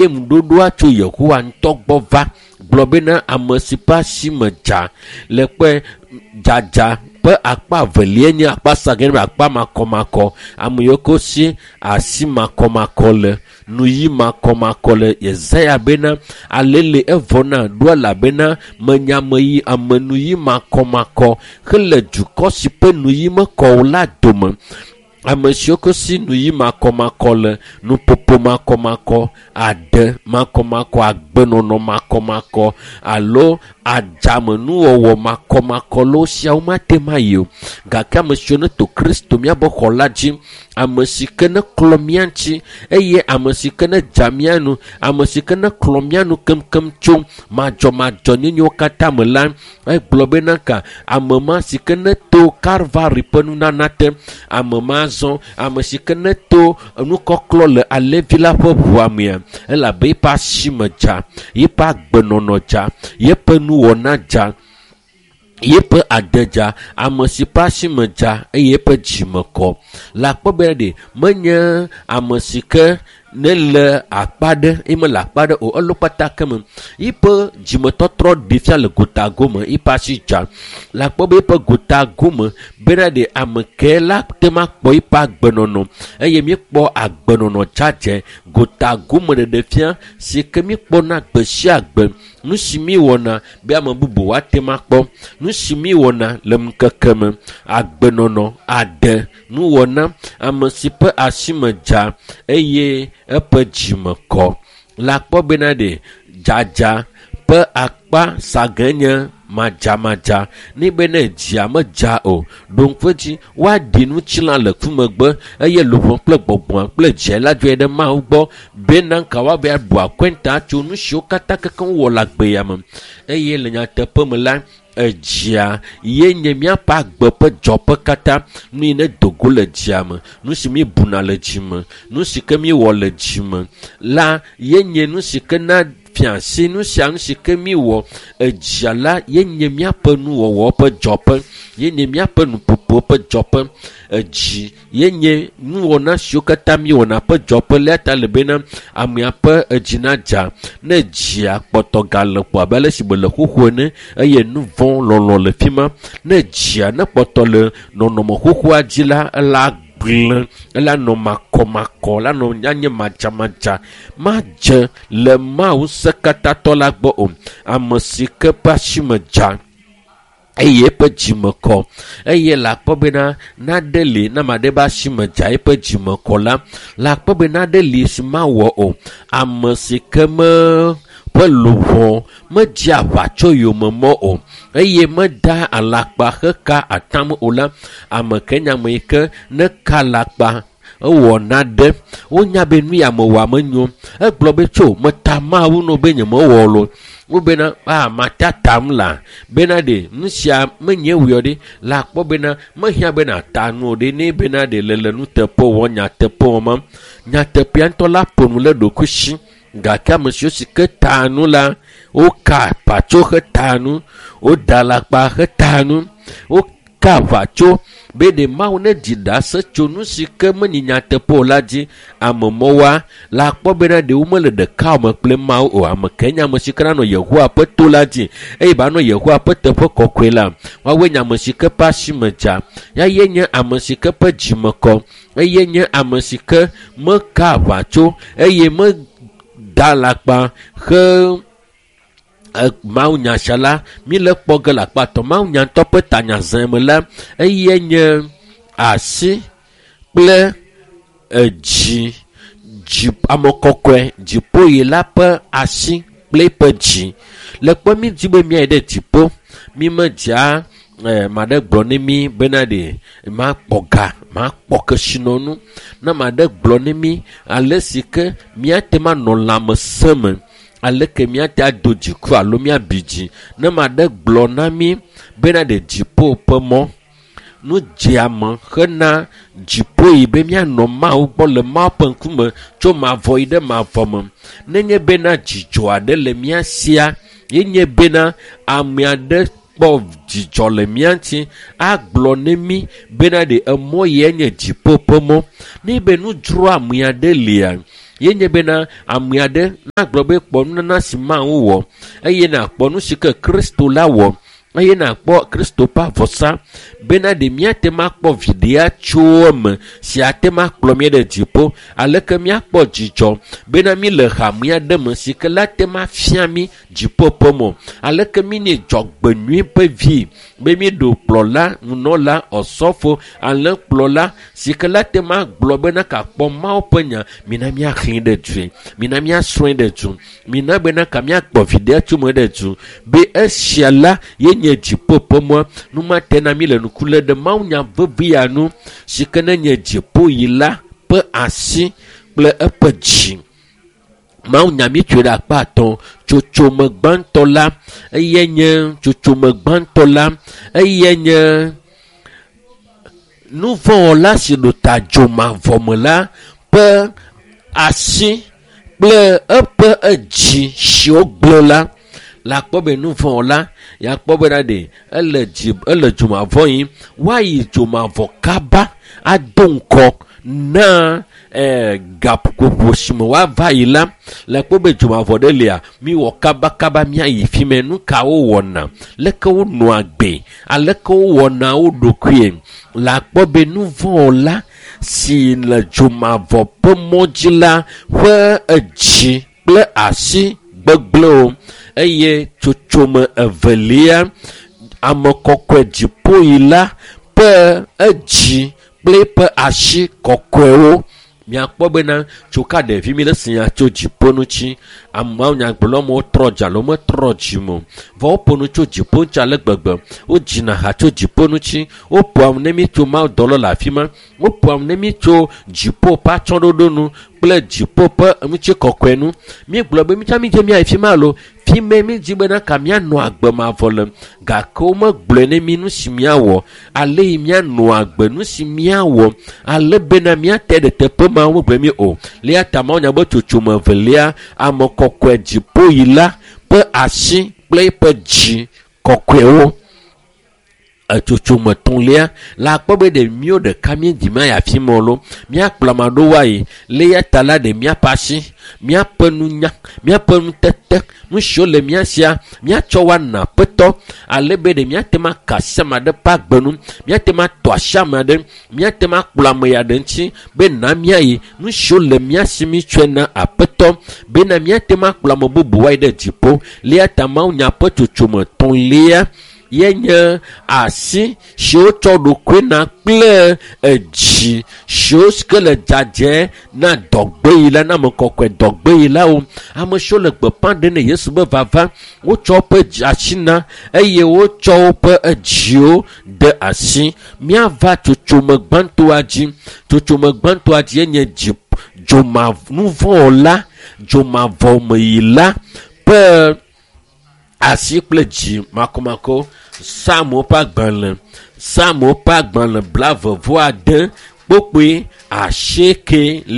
Ŋuɖoɖoa tso Yehowa ŋutɔ gbɔ va gblɔ bena ame si ƒe asi me dza le kpe dzadza ƒe akpa evelia nye akpa sagɛ be akpa makɔmakɔ. Ame yiwo ke si asi makɔmakɔ le, nuyi makɔmakɔ le. Yesaya bena alele evɔ na ɖo elabena menya ame yi ame nuyi makɔmakɔ hele dukɔ si ƒe nuyi mekɔ o la dome. Ame siwo ke si nuyi makɔmakɔ le, nuƒoƒo makɔmakɔ, ade makɔmakɔ, agbenɔnɔ makɔmakɔ alo adzamenuwɔwɔ makɔmakɔ le wo sia womate ŋu ayi o. Gake ame siwo neto Kristo míaƒe xɔ la dzi, ame si ke neklɔ mía ŋuti eye ame si ke nedza mía nu, ame si ke neklɔ mía nu keŋkeŋ tso madzɔmadzɔnyenyewo katã me la, egblɔ bena ka ame ma si ke neto Kalvari ƒe nunana te, ame ma zɔ, ame si ke neto nukɔklɔ le alẽvi la ƒe ʋua mea, elabe eƒe asi me dza, yeƒe agbenɔnɔ dza, yeƒe nuwɔna dza, yeƒe ade dza, ame si ƒe asi me dza eye eƒe dzime kɔ. Le akpɔ be ɖe menye ame si ke ne le akpa ɖe eye mele akpa ɖe o, elo kpata ke me. Yiƒe dzimetɔtrɔ ɖi fia le gota gome, yiƒe asi dza. Le akpɔ be yiƒe gota gome bena ɖe ame ke la te ma kpɔ yiƒe agbenɔnɔ eye míekpɔ agbenɔnɔ dzadzɛ gota gome ɖeɖe fia si ke míekpɔna gbe sia gbe. Nu si míewɔna be ame bubu woate ma kpɔ, nu si míewɔna le ŋkeke me, agbenɔnɔ, ade, nuwɔna, ame si ƒe asi me dza eye eƒe dzime kɔ. Le akpɔ bena ɖe dzadza ƒe akpa sagẽ nye madzamadza. Ne be ne dzia medza o, ɖo ŋku edzi woaɖi ŋutilã le ku megbe eye luʋɔ kple gbɔgbɔa kple dzia la dzɔe ɖe Mawu gbɔ bena ka woava abu akɔnta tso nu siwo katã kekeŋ wowɔ le agbe ya me. Eye le nyateƒe me la, edzia ye nye míaƒe agbe ƒe dzɔƒe katã. Nu yi ne do go le dzia me, nu si míebuna le dzi me, nu si ke míewɔ le dzi me la ye nye nu si ke na fia asi nu sia nu si ke míewɔ. Edzia la ye nye míaƒe nuwɔwɔ ƒe dzɔƒe, ye nye míaƒe nuƒoƒo ƒe dzɔƒe. Edzi ye nye nuwɔna siwo katã míewɔna ƒe dzɔƒe. Le ta le bena amea ƒe edzi nadza. Ne dzia kpɔtɔ gale kpo abe ale si wòle xoxo ene eye nu vɔ̃ lɔlɔ le fi ma. Ne dzia ne kpɔtɔ le nɔnɔme xoxoa dzi la, ela gblẽ, ela nɔ makɔmakɔ, la nɔ anye madzamadza, madze le Mawu ŋusẽkatãtɔ la gbɔ o. Ame si ke ƒe asi me dza eye eƒe dzime kɔ eye le akpɔ bena naɖe li ne ame aɖe ƒe asi me dza eƒe dzime kɔ la, le akpɔ be naɖe li si mawɔ o. Ame si ke me ƒe luʋɔ medze aʋa tso yome mɔ o eye meda alakpa heka atam o la, ame ke nye ame yi ke ne ka alakpa ewɔ naɖe wonya be nu ya mewɔa menyo. Egblɔ be tso meta Mawu no be nyemewɔ lo. Wobena a mata tam la bena ɖe nu sia menye wɔ ɖe le akpɔ bena mehiã bena ta nu ɖe ne bena ɖe le le nuteƒe wɔ nyateƒe wɔ ma. Nyateƒea ŋutɔ la ƒo nu le ɖokuisi gake ame siwo si ke ta nu la woka aʋatso heta nu, woda alakpa heta nu, woka aʋatso be ɖe Mawu ne dzi ɖase tso nu si ke menye nyateƒe o la dzi. Ame mɔwoa le akpɔ bena ɖe womele ɖeka me kple Mawu o. Ame ke nye ame si ke nanɔ Yehowa ƒe to la dzi eye ba nɔ Yehowa ƒe teƒe kɔkɔe la, woawoe nye ame si ke ƒe asi me dza. Ya ye nye ame si ke ƒe dzime kɔ eye nye ame si ke meka aʋatso eye meda alakpa he Mawu nya sia la mi le kpɔ ge le akpa tɔ. Mawu nya ŋutɔ ƒe tanya zẽ me la eye nye asi kple edzi dzi ame kɔkɔe dziƒoyi la ƒe asi kple eƒe dzi. Le kpɔ mi dzi be miayi ɖe dziƒo mi medzia ma ɖe gblɔ ne mi bena ɖe makpɔ ga makpɔ kesinɔnu. Ne ma ɖe gblɔ ne mi ale si ke miate ma nɔ lãmesẽ me aleke míate ado dziku alo míabi dzi. Ne ma ɖe gblɔ na mi bena ɖe dziƒo ƒe mɔ nu dzeame hena dziƒo yi be míanɔ Mawu gbɔ le Mawu ƒe ŋkume tso mavɔ yi ɖe mavɔ me. Nenye bena dzidzɔ aɖe le mía sia ye nye bena ame aɖe kpɔ dzidzɔ le mía ŋuti agblɔ ne mí bena ɖe emɔ ye nye dziƒo ƒe mɔ. Ne be nu dzro ame aɖe lia Ye nye bena ame aɖe nagblɔ be kpɔ nunana si Mawu wɔ eye nakpɔ nu si ke Kristo la wɔ eye nakpɔ Kristo ƒe avɔsa bena ɖe míate ŋu akpɔ viɖea tso eme si ate ŋu akplɔ mí ɖe dziƒo. Aleke míakpɔ dzidzɔ bena mí le hame aɖe me si ke la te ŋu afia mí dziƒo ƒe mɔ. Aleke mí nye dzɔgbenyui ƒe vi be míɖo kplɔla, nunɔla, ɔsɔfo, alẽkplɔla si ke la te ŋu agblɔ bena kakpɔ Mawu ƒe nya, mina míaxlẽe ɖe due, mina míasrɔ̃e ɖe du, mina bena ka míakpɔ viɖea tso eme ɖe du be esia la ye nye dziƒo ƒe mɔ. Nu ma te na mí le ŋku lé ɖe mawunya vevi ya nu si ke ne nye dziƒoyila ƒe asi kple eƒe dzi. Mawunya mi tsoe ɖe akpa atɔ̃. Tsotsome gbãtɔ la eye nye tsotsome gbãtɔ la eye nye nuvɔ̃wɔla si ɖo ta dzomavɔ me la ƒe asi kple eƒe edzi si wogblẽ la. Le akpɔ be nuvɔ̃wɔla yakpɔ bena ɖe ele dzi ele dzomavɔ yim woayi dzomavɔ kaba ado ŋkɔ na gaƒoƒo si me woava yi la. Le kpɔ be dzomavɔ ɖe lia miwɔ kabakaba míayi fi mɛ. Nu ka wowɔna, leke wonɔa gbe, aleke wowɔna wo ɖokuie. Le akpɔ be nuvɔ̃wɔla si le dzomavɔ ƒe mɔ dzi la ƒe edzi kple asi gbegblẽwo eye tsotsome evelia ame kɔkɔe dziƒoyila ƒe edzi kple eƒe asi kɔkɔewo. Miakpɔ bena tso ka ɖevi mi le si nya tso dziƒo ŋuti. Ameawo nyagblɔm wotrɔ dzi alo metrɔ dzi me o. Vɔ woƒo nu tso dziƒo ŋuti ale gbegbe. Wodzina ha tso dziƒo ŋuti. Woƒoa nu ne mi tso mawudɔlawo le afi ma. Woƒoa nu ne mi tso dziƒo ƒe atsyɔ̃ɖoɖo nu kple dziƒo ƒe ŋutikɔkɔe nu. Míegblɔ be mitsã mídze míayi fi ma alo fi me mídzi bena ka míanɔ agbe mavɔ le. Gake womegblɔe ne mí nu si míawɔ ale yi míanɔ agbe nu si míawɔ ale bena míate ɖe teƒe ma womegblɔe mí o. Le eya ta mawunya be tsotsome evelia ame kɔkɔe dziƒoyila ƒe asi kple eƒe dzi kɔkɔewo. Etsotsome etɔ̃lia le akpɔ be ɖe míwo ɖeka míedzi míayi afi ma o loo míakplɔ ame aɖewo ayi. Le eya ta la ɖe míaƒe asi, míaƒe nunya, míaƒe nutete, nu siwo le mía sia míatsɔ woana aƒetɔ ale be ɖe míate ŋu aka asi ame aɖe ƒe agbe nu, míate ŋu atɔ asi ame aɖe, míate ŋu akplɔ ame ya ɖe ŋuti be na míayi. Nu siwo le mía si mítsɔe na aƒetɔ bena míate ŋu akplɔ ame bubuwo ayi ɖe dziƒo. Le eya ta mawunya ƒe tsotsome etɔ̃lia ye nye asi si wotsɔ ɖokui na kple edzi siwo ke le dzadzɛ na dɔgbeyila na ame kɔkɔe dɔgbeyilawo. Ame siwo le gbeƒã ɖem ne Yesu be vava, wotsɔ woƒe asi na eye wotsɔ woƒe edziwo de asi. Míava tsotsome gbãtɔa dzi. Tsotsome gbãtɔa dzi nye dzi dzomavɔnuvɔ̃wɔla dzomavɔmeyila ƒe asi kple dzi makɔmakɔ. Psalmo ƒe agbalẽ, Psalmo ƒe agbalẽ 89 kpukpui 8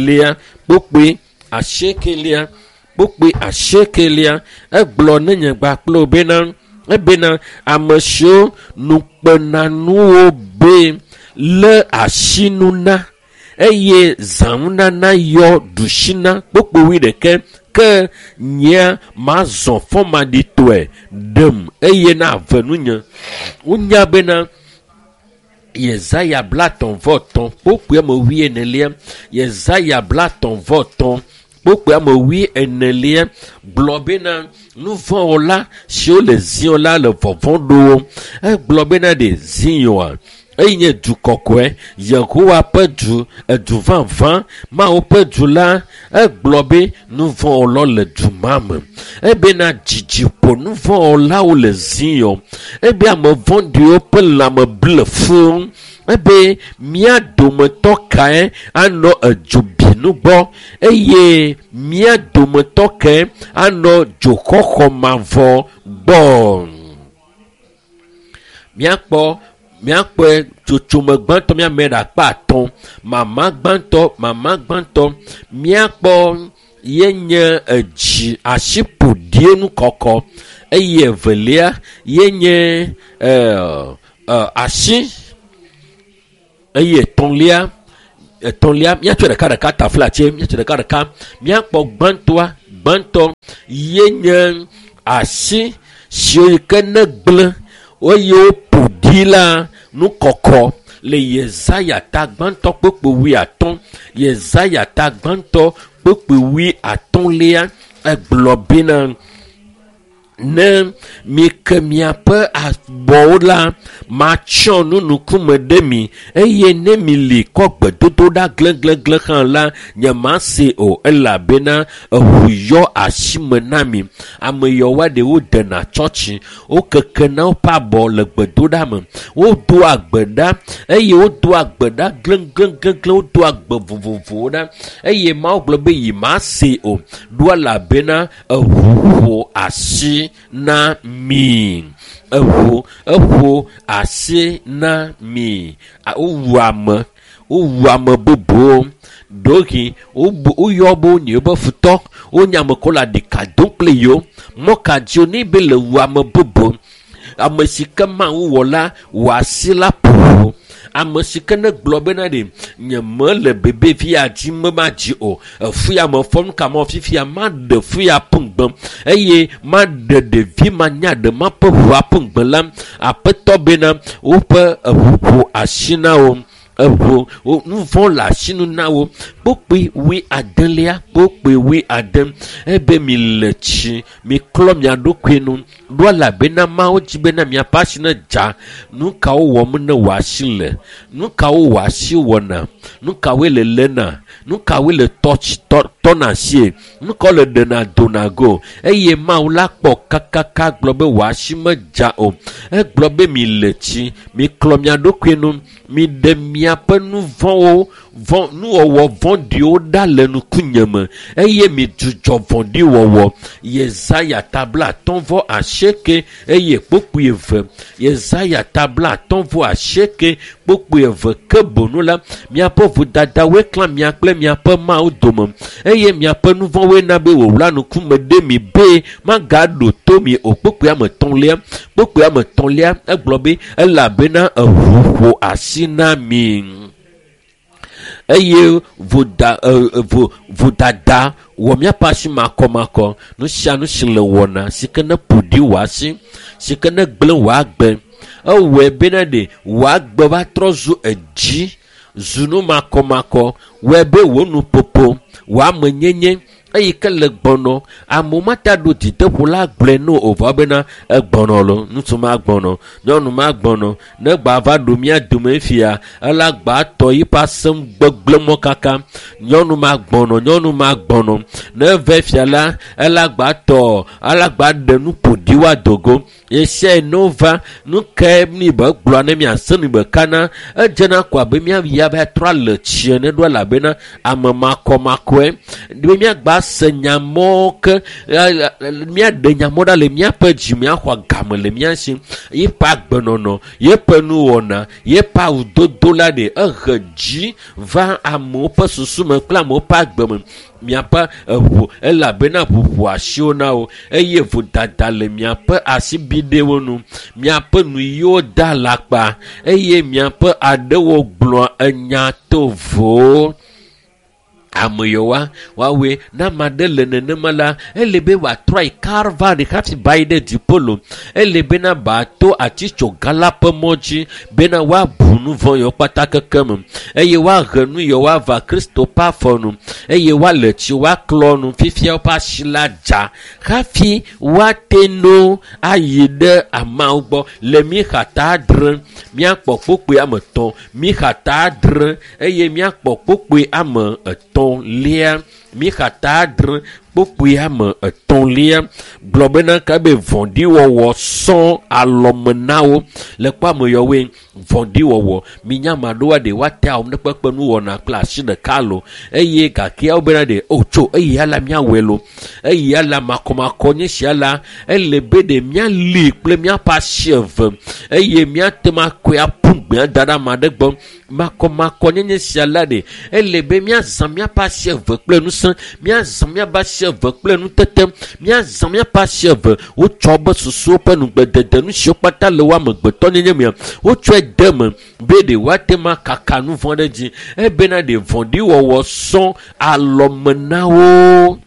kpukpui 8 kpukpui 8 egblɔ ne nye gba kple wo bena ebena ame siwo nukpenanuwo be lé asinu na eye zãnunana yɔ ɖusi na kpukpui 21 ke nyea mazɔ fɔmaɖitɔe ɖem eye na ave nunye. Wonya bena Yesaya 33 kpukpui 40, Yesaya 33 kpukpui 40 gblɔ bena nuvɔ̃wɔla siwo le Zion la le vɔvɔ̃ ɖo wo. Egblɔ bena ɖe Zioa eye nye du kɔkɔe, Yehowa ƒe du, edu vavã, Mawu ƒe du la, egblɔ be nuvɔ̃wɔlawo le du ma me. Ebena dzidzi ƒo nuvɔ̃wɔlawo le Zion. Ebe ame vɔ̃ɖiwo ƒe lãme ble fũu. Ebe mía dometɔ kae anɔ edzobinu gbɔ eye mía dometɔ kae anɔ dzoxɔxɔ mavɔ gbɔ. Míakpɔ míakpɔe tsotsome gbãtɔ míame ɖe akpa atɔ̃. Mama gbãtɔ míakpɔ ye nye edzi asiƒoɖie nu kɔkɔ eye evelia ye nye asi eye etɔ̃lia Etɔ̃lia, míatsɔ ɖeka ɖeka taflatse, míatsɔ ɖeka ɖeka. Míakpɔ gbãtɔa, gbãtɔ ye nye asi siwo yi ke ne gblẽ eye woƒo ɖi la nu kɔkɔ le Yesaya ta gbãtɔ kpukpui 50. Yesaya ta gbãtɔ kpukpui 50lia egblɔ bena ne mike miaƒe abɔwo la, matsyɔ nu ŋkume ɖe mi, eye ne mili kɔ gbedodoɖa gleglegle hã la, nyemase o, elabena eʋu yɔ asime na mi. Ame yawoa ɖewo dena tsɔtsi, wokekena woƒe abɔ le gbedoɖa me, wodoa gbe ɖa eye wodoa gbe ɖa glegleglegle, wodoa gbe vovovowo ɖa eye Mawu gblɔ be yi mase o, ɖo elabena eʋu ƒo asi na mi. Eʋu eƒo asi na mi. Wowu ame, wowu ame bubuwo. Ɖewohĩ woyɔ be wonye woƒe futɔ, wonye ame kewo le aɖika dom kple yewo. Mɔ ka dzi wonɛ be le wu ame bubu? Ame si ke Mawu wɔ la, wɔ asi la ƒo. Ame si ke ne gblɔ bena ɖe nye mele bebe fia dzi me madzi o, efu ya me fɔ nu ka mɔ fifia maɖe fu ya ƒu ŋgbe eye maɖe ɖevi manya ɖe maƒe ʋua ƒu ŋgbe la, Aƒetɔ bena woƒe eʋu ƒo asi na wo. Eʋu nu vɔ̃ le asinu na wo. Kpukpui 80lia, kpukpui 80 ebe mi le tsi, miklɔ mia ɖokui nu. Ɖo elabena Mawu dzi bena miaƒe asi ne dza. Nu kawo wɔm ne wò asi le? Nu kawo wò asi wɔna? Nu kawoe le léna? Nu kawoe le tɔna asie? Nu kawo le ɖena dona go? Eye Mawu la kpɔ kakaka gblɔ be wò asi medza o. Egblɔ be mi le tsi, miklɔ mia ɖokui nu, miɖe miaƒe nu vɔ̃wo, nuwɔwɔ vɔ̃ɖiwo ɖa le ŋkunye me eye midzudzɔ vɔ̃ɖiwɔwɔ. Yesaya ta 58 eye kpukpui 2. Yesaya ta 58 kpukpui 2. Ke bonu la, miaƒe vodadawoe klã mia kple miaƒe Mawu dome eye miaƒe nu vɔ̃woe na be wòwla ŋkume ɖe mi be magaɖo to mi o. Kpukpui ame etɔ̃lia, kpukpui ame etɔ̃lia egblɔ be elabena eʋu ƒo asi na mi eye vodada wɔ miaƒe asi makɔmakɔ. Nu sia nu si le wɔna si ke ne ƒo ɖi wò asi, si ke ne gblẽ wò agbe, ewɔe bena ɖe wò agbe va trɔ zu edzi, zu nu makɔmakɔ, wɔe be wò nuƒoƒo, wò amenyenye eyi ke le gbɔnɔ, amewo mate ɖo dzideƒo la gblɔe no o vɔ bena egbɔnɔ lo, ŋutsu ma gbɔnɔ, nyɔnu ma gbɔnɔ, ne gba va ɖo mía dome fia, ela gba tɔ yiƒe asem gbegblẽ mɔ kaka, nyɔnu ma gbɔnɔ, nyɔnu ma gbɔnɔ, ne ve fia la, ela gba tɔ, ela gba ɖe nu ƒo ɖi woa dogo. Esia no va, nu ke mi be gblɔ ne miase nu be kana, edzena ko abe míayi ava trɔ le tsi ene ɖo elabena ame makɔmakɔe. Be míagba se nyamɔ ke, míaɖe nyamɔ ɖa le míaƒe dzi, míaxɔ game le mía si. Yeƒe agbenɔnɔ, yeƒe nuwɔna, yeƒe awudodo la ɖe ehe dzi va amewo ƒe susu me kple amewo ƒe agbe me. Miaƒe eʋu elabena ʋu ƒo asiwo na wo eye vodada le miaƒe asibiɖewo nu. Miaƒe nuyiwo da alakpa eye miaƒe aɖewo gblɔa enya tovowo. Ame yawoa woawoe ne ame aɖe le nenema la, ele be wòatrɔ ayi Kalvari hafi ba yi ɖe dziƒo lo. Ele bena bato atitsoga la ƒe mɔ dzi bena woabu nu vɔ̃ yawo kpata keke me eye woahe nu yawo ava Kristo ƒe afɔ nu eye woale tsi woaklɔ nu fifia woƒe asi la dza hafi woate no ayi ɖe ameawo gbɔ. Le Mixa ta 7 míakpɔ kpukpui ame 3, Mixa ta 7 eye míakpɔ kpukpui ame 3lia. Mixa ta 7 kpukpui ame 3lia gblɔ bena ke be vɔ̃ɖiwɔwɔ sɔ alɔme na wo. Le kpɔ ame yawoe vɔ̃ɖiwɔwɔ minya ame aɖewoa ɖe woate awɔ ne kpekpe nuwɔna kple asi ɖeka lo eye gake wo bena ɖe o tso eya la míawɔe lo, eya la makɔmakɔ nye sia la, ele be ɖe míali kple míaƒe asi eve eye míate ŋu akɔe aƒu gbe da ɖe ame aɖe gbɔ. Makɔmakɔ nyenye sia la ɖe ele be míazã míaƒe asi eve kple ŋusẽ, míazã míaƒe asi asi eve kple nutete. Míazã míaƒe asi eve. Wotsɔ be susuwo ƒe nugbedede nu siwo kpata le wo amegbetɔnyenye mea, wotsɔe de eme be ɖe woate ŋu akaka nu vɔ̃ ɖe dzi ebena ɖe vɔ̃ɖiwɔwɔ sɔ alɔme na wo.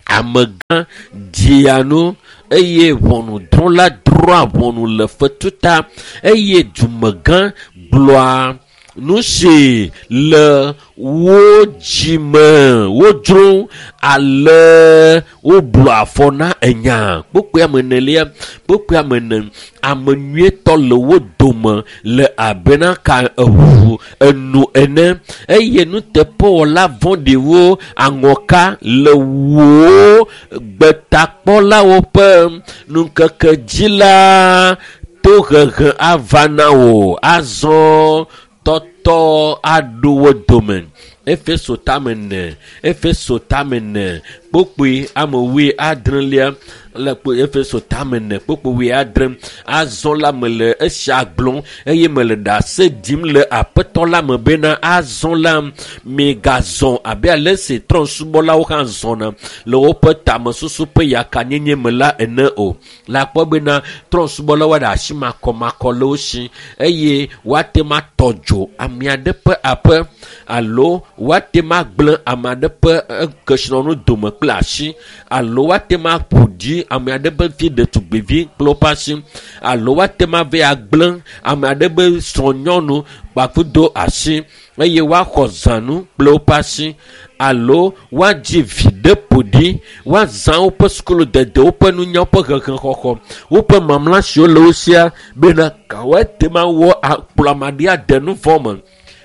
Amegã dzia nu eye ʋɔnudrɔ̃la drɔ̃a ʋɔnu le fetu ta eye dumegã gblɔa nu si le wo dzime wodzro ale woblu afɔ na enya. Kpukpui ame enelia, kpukpui ame ene, ame nyuietɔ le wo dome le abena ka eʋu enu ene eye nuteƒewɔla vɔ̃ɖiwo aŋɔka le wò gbetakpɔlawo ƒe ŋkeke dzi la tohehe ava na wò azɔ tɔtɔ aɖo wo dome. Efeso tame ene, Efeso tame ene, kpukpui ame wuiadrelia le Efeso tame ene, kpukpui wuiadre. Azɔ la mele esia gblɔm eye mele ɖase ɖim le aƒetɔ la me bena azɔ la migazɔ abe ale si trɔ̃subɔlawo hã zɔna le woƒe tamesusu ƒe yakanyenye me la ene o. Le akpɔ bena trɔ̃subɔlawo ɖe asi makɔmakɔ le wo si eye woate ŋu atɔ dzo ame aɖe ƒe aƒe alo woate ŋu agblẽ ame aɖe ƒe kesinɔnu dome kple asi alo woate ŋu aƒo ɖi ame aɖe ƒe vi ɖetugbivi kple woƒe asi alo woate ŋu ava agblẽ ame aɖe ƒe srɔ̃nyɔnu kpakudo asi eye woaxɔ zãnu kple woƒe asi alo woadzi vi ɖe ƒo ɖi, woazã woƒe sukuludede, woƒe nunya, woƒe hehexɔxɔ, woƒe mamla siwo le wo sia bena woate ŋu awɔ akplɔ ame aɖe ade nu vɔ̃ me.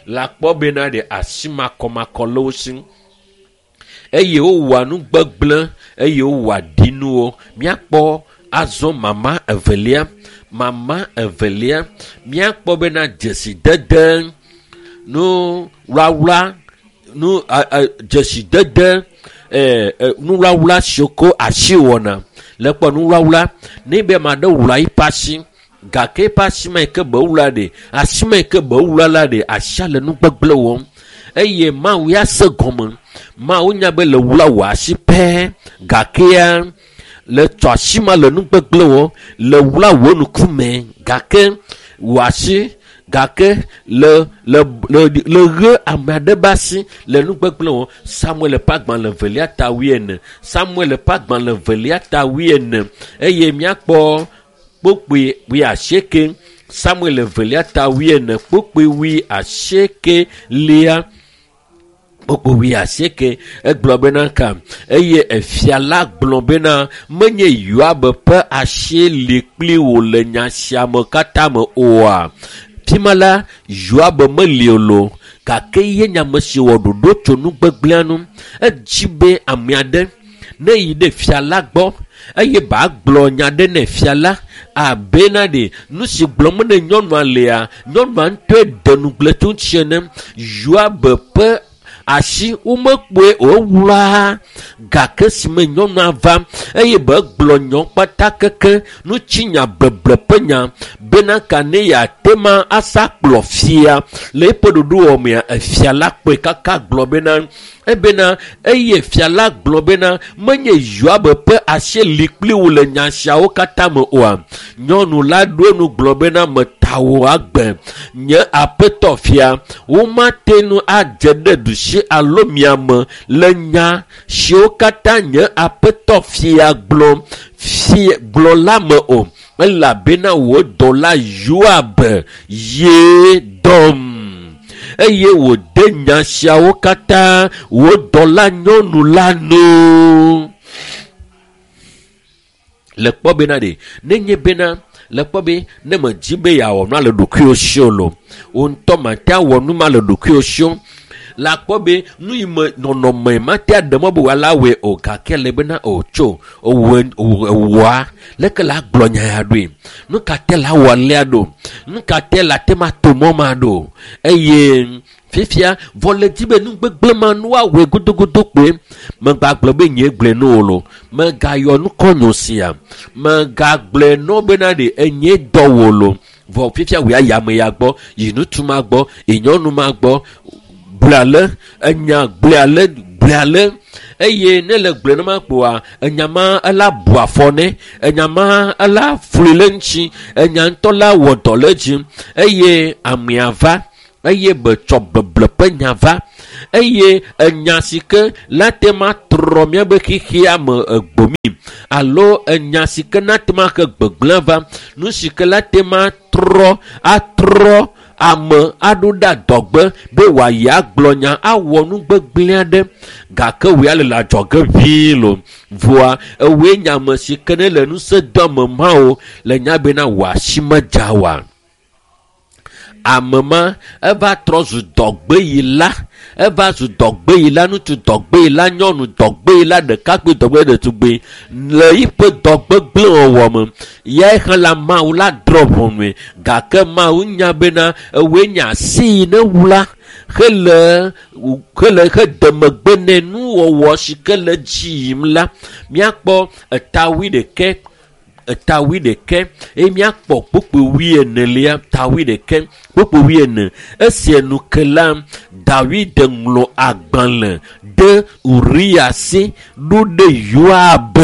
Le akpɔ bena ɖe asi makɔmakɔ le wo si eye wowɔa nu gbegblẽ eye wowɔa ɖinuwo. Míakpɔ azɔ mama evelia, mama evelia, míakpɔ bena dzesidede nu wlawla nu dzesidede nuwlawla siwo ko asi wɔna. Le kpɔ nuwlawla ne be ame aɖe wla eƒe asi gake eƒe asi ma yi ke be wla ɖe, asi ma yi ke be wla la ɖe, asia le nu gbegblẽ wɔm eye Mawu ya se gɔme. Mawu nya be le wla wò asi pɛ gakea le tsɔ asi ma le nu gbegblẽ wɔm, le wla wò ŋkume gake wò asi gake le le le le ɣe ame aɖe ƒe asi le nu gbegblẽ wɔm. Samuel ƒe agbalẽ evelia ta wuiene, Samuel ƒe agbalẽ evelia ta wuiene eye míakpɔ kpukpui wuiasieke. Samuel evelia ta wuiene, kpukpui wuiasieke lia. Kpukpui wuiasieke egblɔ bena ka eye efia la gblɔ bena menye Yoab ƒe asie li kpli wò le nya sia me katã me oa? Fima la Yoab meli o lo gake ye nye ame si wɔ ɖoɖo tso nu gbegblẽa nu. Edzi be ame aɖe ne yi ɖe fia la gbɔ eye ba gblɔ nya ɖe ne fia la abena ɖe nu si gblɔm ne nyɔnua lea, nyɔnua ŋutɔe de nugble tso ŋuti ene. Yoab ƒe asi womekpɔe o ewlɔa gake si me nyɔnua va eye be gblɔ nyɔ kpata keke nutsinya beble ƒe nya bena ka ne yeate ma asa kplɔ fia le eƒe ɖoɖowɔ mea, efia la kpɔe kaka gblɔ bena ebena eye fia la gblɔ bena menye Yoab ƒe asie li kpli wò le nya siawo katã me oa? Nyɔnu la ɖo enu gblɔ bena meta wò agbe nye aƒetɔ fia, womate ŋu adze ɖe ɖusi alo miame le nya siwo katã nye aƒetɔ fia gblɔ gblɔ la me o elabena wò dɔla Yoab ye dɔm eye wòde nya siawo katã wò dɔla nyɔnu la nu. Le kpɔ bena ɖe nenye bena le kpɔ be ne medzi be yeawɔ nua le ɖokuiwò si o lo, wò ŋutɔ mate awɔ nu ma le ɖokuiwò si o. Le akpɔ be nu yi me nɔnɔme mate aɖe mɔ be wòala wɔe o gake le bena o tso ewɔa leke la gblɔ nya ya ɖoe, nu ka te la wɔ alea ɖo, nu ka te la te ma to mɔ ma ɖo eye fifia vɔ le dzi be nu gbegblẽ ma nu woawɔe godogodo kpoe. Megagblɔ be nye gblɔe no o lo, megayɔ nukɔnyo sia, megagblɔe no bena ɖe enye dɔ wò lo. Vɔ fifia wò ya ame ya gbɔ, yi ŋutsu ma gbɔ, yi nyɔnu ma gbɔ, gblɔe ale, enya gblɔe ale, gblɔe ale. Eye ne le gblɔe nema kpoa, enya ma ela bu afɔ nɛ, enya ma ela flui le ŋuti, enya ŋutɔ la wɔ dɔ le edzi. Eye amea va, eye betsɔ beble ƒe nya va, eye enya si ke la te ma trɔ míabe xexea me egbomi, alo enya si ke na te ma he gbegblẽ va, nu si ke la te ma trɔ atrɔ ame aɖo ɖe adɔgbe be wòayi agblɔ nya awɔ nu gbegblẽ aɖe, gake wòya le adzɔge ʋĩi lo. Vɔa ewoe nye ame si ke ne le ŋusẽ dom ame mawo le nya bena wò asi medza oa. Ame ma eva trɔ zu dɔgbeyila, eva zu dɔgbeyila, ŋutsu dɔgbeyila, nyɔnu dɔgbeyila, ɖekakpui dɔgbe ɖetugbui le yiƒe dɔgbegblẽ wɔwɔ me. Ya hã la Mawu la drɔ̃ ʋɔnue, gake Mawu nya bena ewoe nye asi yi ne wla hele he megbe nɛ nuwɔwɔ si ke le dzi yim la. Míakpɔ eta 21 eye míakpɔ kpukpui 24, ta 21 kpukpui 40. Esi enu ke la, Dawid ŋlɔ agbalẽ ɖe Uriya si ɖo ɖe Yoab.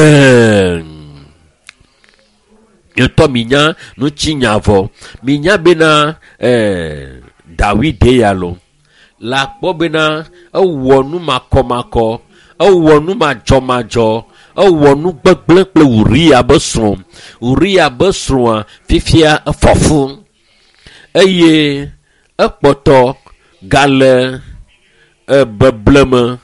Ŋutɔ minya ŋutinya vɔ. Minya bena Dawid ya lo la kpɔ bena ewɔ nu makɔmakɔ, ewɔ nu madzɔmadzɔ, ewɔ nu gbegblẽ kple Uriya be srɔ̃. Uriya be srɔ̃a fifia efɔ fu eye ekpɔtɔ gale beble me,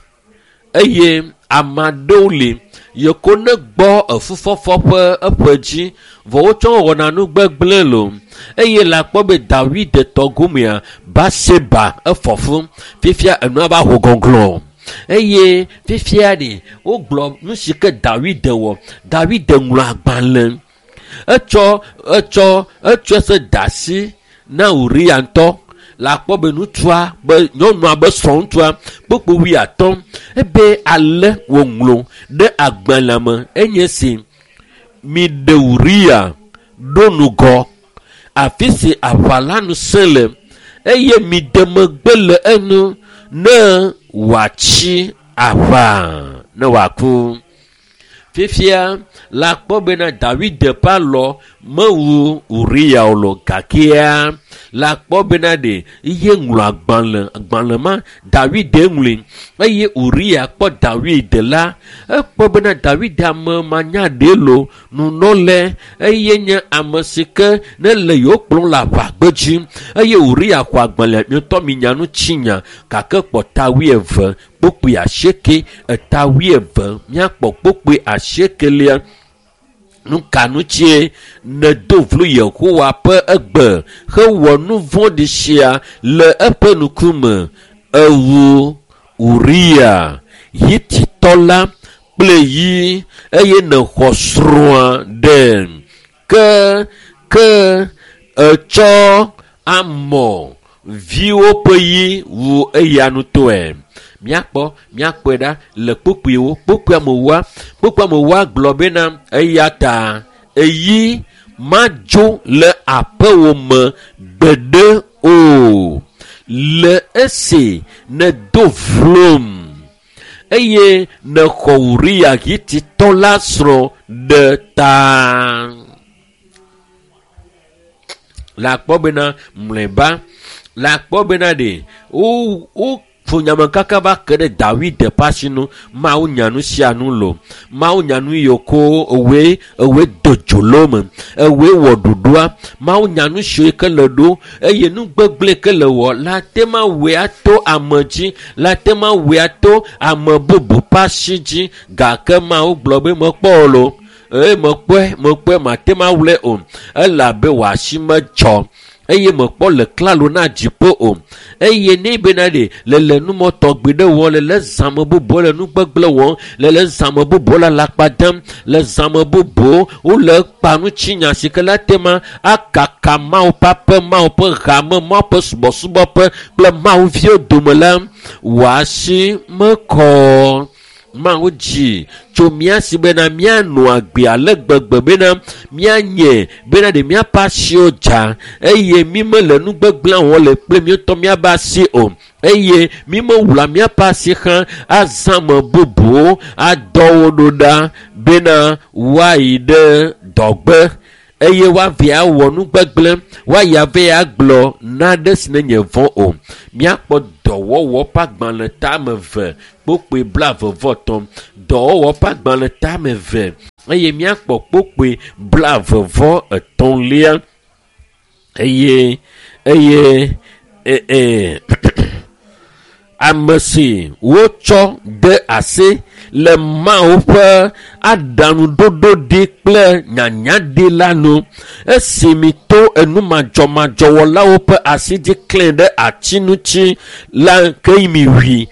eye ame aɖewo li yeko ne gbɔ efufɔfɔ ƒe eƒe dzi vɔ wotsɔ wɔna nu gbegblẽ lo. Eye le akpɔ be Dawid tɔ gomea, Batseba efɔ fu fifia enua va ho gɔglɔ̃. Eye fifia ɖe wogblɔ nu si ke Dawid wɔ. Dawid ŋlɔ agbalẽ, etsɔ se da asi na Uriya ŋutɔ. Le akpɔ be ŋutsua be nyɔnua be srɔ̃ ŋutsua kpukpui 50 ebe ale wòŋlɔ ɖe agbalẽa me enye si: miɖe Uriya ɖo nugɔ afi si aʋa la nu sẽ le, eye miɖe megbe le enu ne wòatsi aʋa ne wòaku. Fifia la kpɔ bena Dawid ƒe alɔ mewu Uriya o lo, gakea la kpɔ bena ɖe ye ŋlɔ agbalẽ ma Dawid ŋlɔe, eye Uriya kpɔ Dawid la, ekpɔ bena Dawid ame manya ɖe lo nunɔlɛ, eye nye ame si ke ne le yewo kplɔm le aʋagbedzi. Eye Uriya xɔ agbalẽa, ŋutɔ minya ŋutinya, gake kpɔ ta 22 kpukpui 8, eta 22 míakpɔ kpukpui 8. Nuka ŋutie nèdo vlo Yehowa ƒe egbe hewɔ nu vɔ̃ɖi sia le eƒe ŋkume? Ewu Uriya Hititɔ la kple yi, eye nèxɔ srɔ̃a ɖe. Ke etsɔ Amɔ viwo ƒe yi wu eya ŋutɔe. Míakpɔe ɖa le kpukpuiwo. Kpukpui amewoa gblɔ bena eya ta eyi madzo le aƒewò me gbeɖe o, le esi nèdo vlom eye nèxɔ Uriya Hititɔ la srɔ̃ ɖe ta. Le akpɔ bena mlɔeba, le akpɔ bena ɖe wo ƒo kaka va ke ɖe Dawid ƒe asi nu. Mawu nya nu sia nu lo. Mawu nya nu yiwo ko ewoe do dzo le wo me, ewoe wɔ ɖoɖoa. Mawu nya nu siwo ke le ɖo eye nu gbegblẽ ke le wɔ la te ma wɔe ato ame dzi, la te ma wɔe ato ame bubu ƒe asi dzi. Gake Mawu gblɔ be mekpɔ o lo, eye mekpɔe mate ma wlɔe o, elabe wò asi medzɔ eye mekpɔ le klalo na dziƒo o. Eye ne bena ɖe le numɔ tɔgbi ɖe wɔm, le zãme bubu le nu gbegblẽ wɔm, le zãme bubu le alakpa dem, le zãme bubu wole kpa ŋutinya si ke la te ma akaka Mawu ƒe aƒe, Mawu ƒe hame, Mawu ƒe subɔsubɔƒe kple Mawu viwo dome la, wò asi mekɔ. Mawu dzi tso mía si bena míanɔ agbe ale gbegbe bena míanye bena ɖe míaƒe asiwo dza eye mí mele nu gbegblẽ wɔm le kple míetɔ míaƒe asi o eye mí mewla míaƒe asi xlã azã ame bubuwo adɔ wo ɖo ɖa bena woayi ɖe dɔgbe eye woavɛ awɔ nu gbegblẽ woayi ave agblɔ naɖe si ne nye vɔ̃ o. Míakpɔ dɔwɔwɔ ƒe agbalẽ tame 2 kpokpoe 23, dɔwɔwɔ ƒe agbalẽ tame 2 eye míakpɔ kpokpoe 23 eye eye ame si wotsɔ de asi le Mawu ƒe aɖaŋuɖoɖo ɖi kple nyanyaɖi la nu esi mi to enumadzɔmadzɔwɔlawo ƒe asi dzi klẽ ɖe ati ŋuti la ke mi wui.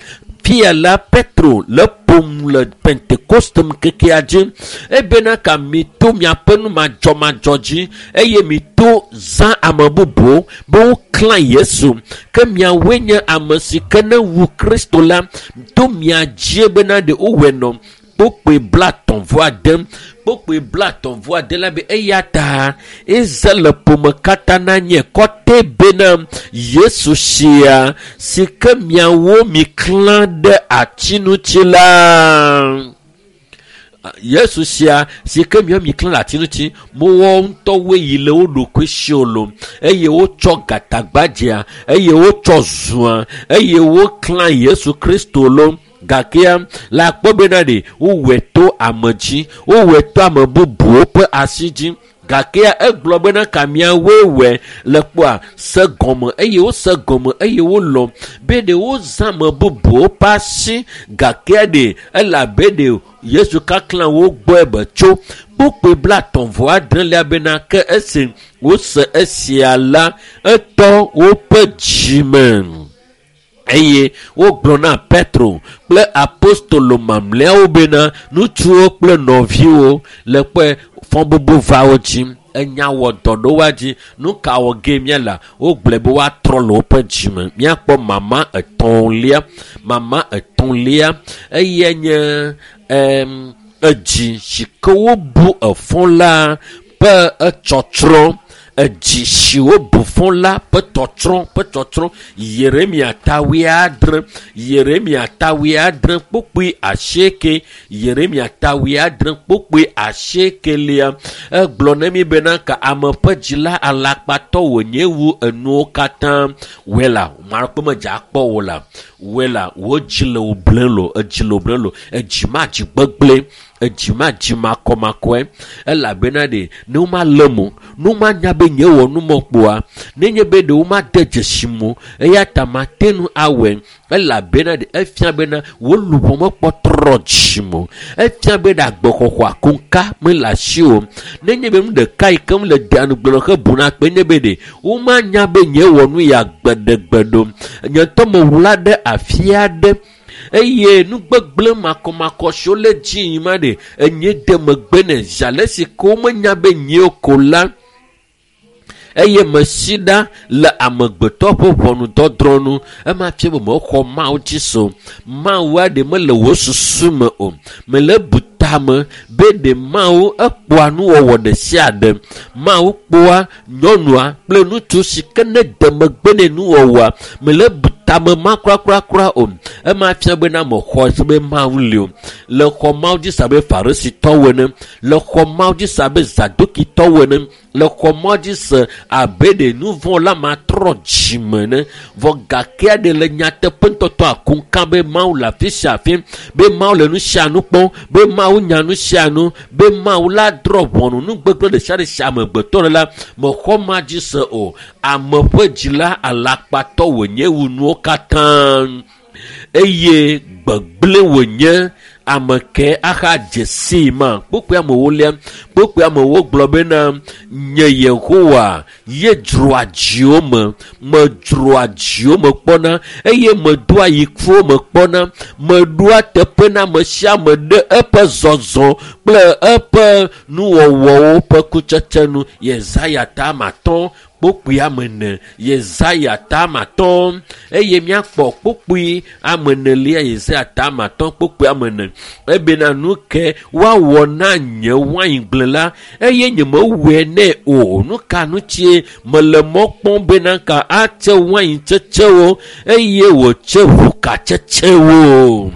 Fia la Petro le ƒom le Pentekoste ŋkekea dzi ebena ka mi to miaƒe numadzɔmadzɔ dzi eye mi to zã ame bubuwo be woklã Yesu ke miawoe nye ame si ke ne wu Kristo la to mia dzie bena ɖe wowɔe nɔ kpokpoe 39 kpokpoe 39 la be eya ta eze le ƒome katã na nye kɔte bena Yesu sia si ke miawo mi klã ɖe ati ŋuti la Yesu sia si ke miawo mi klã ɖe ati ŋuti mowɔ ŋutɔwoe yi le wo ɖokui si o lo eye wotsɔ gatagbadzea eye wotsɔ zua eye woklã Yesu Kristo lo gakea la kpɔ bena ɖe wowɔe to ame dzi wowɔe to ame bubuwo ƒe asi dzi gakea egblɔ bena ka miawoe wɔe le kpɔa se gɔme eye wose gɔme eye wolɔ be ɖe wozã ame bubuwo ƒe asi gakea ɖe elabe ɖe Yesu kaklã wo gbɔe be tso kpokpoe 39 bena ke esi wose esia la etɔ woƒe dzime eye wogblɔ na Petro kple apostolo mamlɛawo bena ŋutsuwo kple nɔviwo le kpɔe fɔbubu va wo dzi enya wɔ dɔ ɖo woa dzi nu ka wɔ ge míala wogblɔe be woatrɔ le woƒe dzime. Míakpɔ mama etɔ̃lia eye nye edzi si ke wobu efɔ la ƒe etsɔtsrɔ̃ edzi si wobu fɔ la ƒe tɔtrɔ Yeremia ta 8 Yeremia ta 8 kpokpoe 8 Yeremia ta 8 kpokpoe 8 egblɔ na mi bena ka ame ƒe dzi la alakpatɔ wònye wu enuwo katã wela maɖekpe medze akpɔ wo la wela wo dzi le wo blẽ lo edzi le wo blẽ lo edzi ma dzi gbegblẽ edzi ma dzi makɔmakɔe elabena ɖe ne womalé mo ne womanya be nye wɔ numɔkpoa nenye be ɖe womade dzesi mo eya ta mate ŋu awɔe elabena ɖe efia bena wo luʋɔ mekpɔ trɔ dzi mo efia be ɖe agbexɔxɔ akonka mele asi o nenye be nu ɖeka yi ke le deanugblɔ he buna kpe nye be ɖe womanya be nye wɔ nu ya gbeɖegbe ɖo nye ŋutɔ mewla ɖe afi aɖe eye nu gbegblẽ makɔmakɔ siwo le dzi yim ma ɖe enye de megbe ne zi ale si ke womenya be nyeo ko la eye mesi ɖa le amegbetɔ ƒe ʋɔnudɔdrɔ̃ nu ema fia be mexɔ Mawu dzi so Mawu aɖe mele wò susu me o mele bu tame be ɖe Mawu ekpɔa nuwɔwɔ ɖe sia ɖe Mawu kpɔa nyɔnua kple ŋutsu si ke ne de megbe ne nuwɔwɔa mele bu tame ma kurakura o ema fia bena mexɔ se be Mawu li o le xɔ Mawu dzi se abe Farisitɔwo ene le xɔ Mawu dzi se abe Zadukitɔwo ene le xɔ Mawu dzi se abe ɖe nu vɔ̃ la matrɔ dzime ne vɔ gakea ɖe le nyateƒe ŋutɔtɔ akunka be Mawu le afi sia afi be Mawu le nu sia nu kpɔm be Mawu nya nu sia nu be Mawu la drɔ̃ ʋɔnu nu gbegblẽ ɖe sia ɖe si amegbetɔ le la mexɔ ma dzi se o ame ƒe dzi la alakpatɔ wònye wu nuwo katã eye gbegblẽ wònye ame ke aha dze sii ma kpokpoe amewo lia kpokpoe amewo gblɔ bena nye Yehowa ye dzroa dziwo me medzroa dziwo me kpɔna eye medoa yikuwo me kpɔna meɖoa teƒe na ame sia ame ɖe eƒe zɔzɔ kple eƒe nuwɔwɔwo ƒe kutsetse nu. Yesaya ta 5 kpokpui ame ene. Yesaya ta ame atɔ̃ eye míakpɔ kpokpui ame enelia. Yesaya ta ame atɔ̃ kpokpui ame ene. Ebena nu ke woawɔ na nye waingble la eye nyemewɔe nɛ o. Nu ka ŋutie mele mɔ kpɔm bena ka atse waintsetsewo eye wòtse ʋukatsetsewo?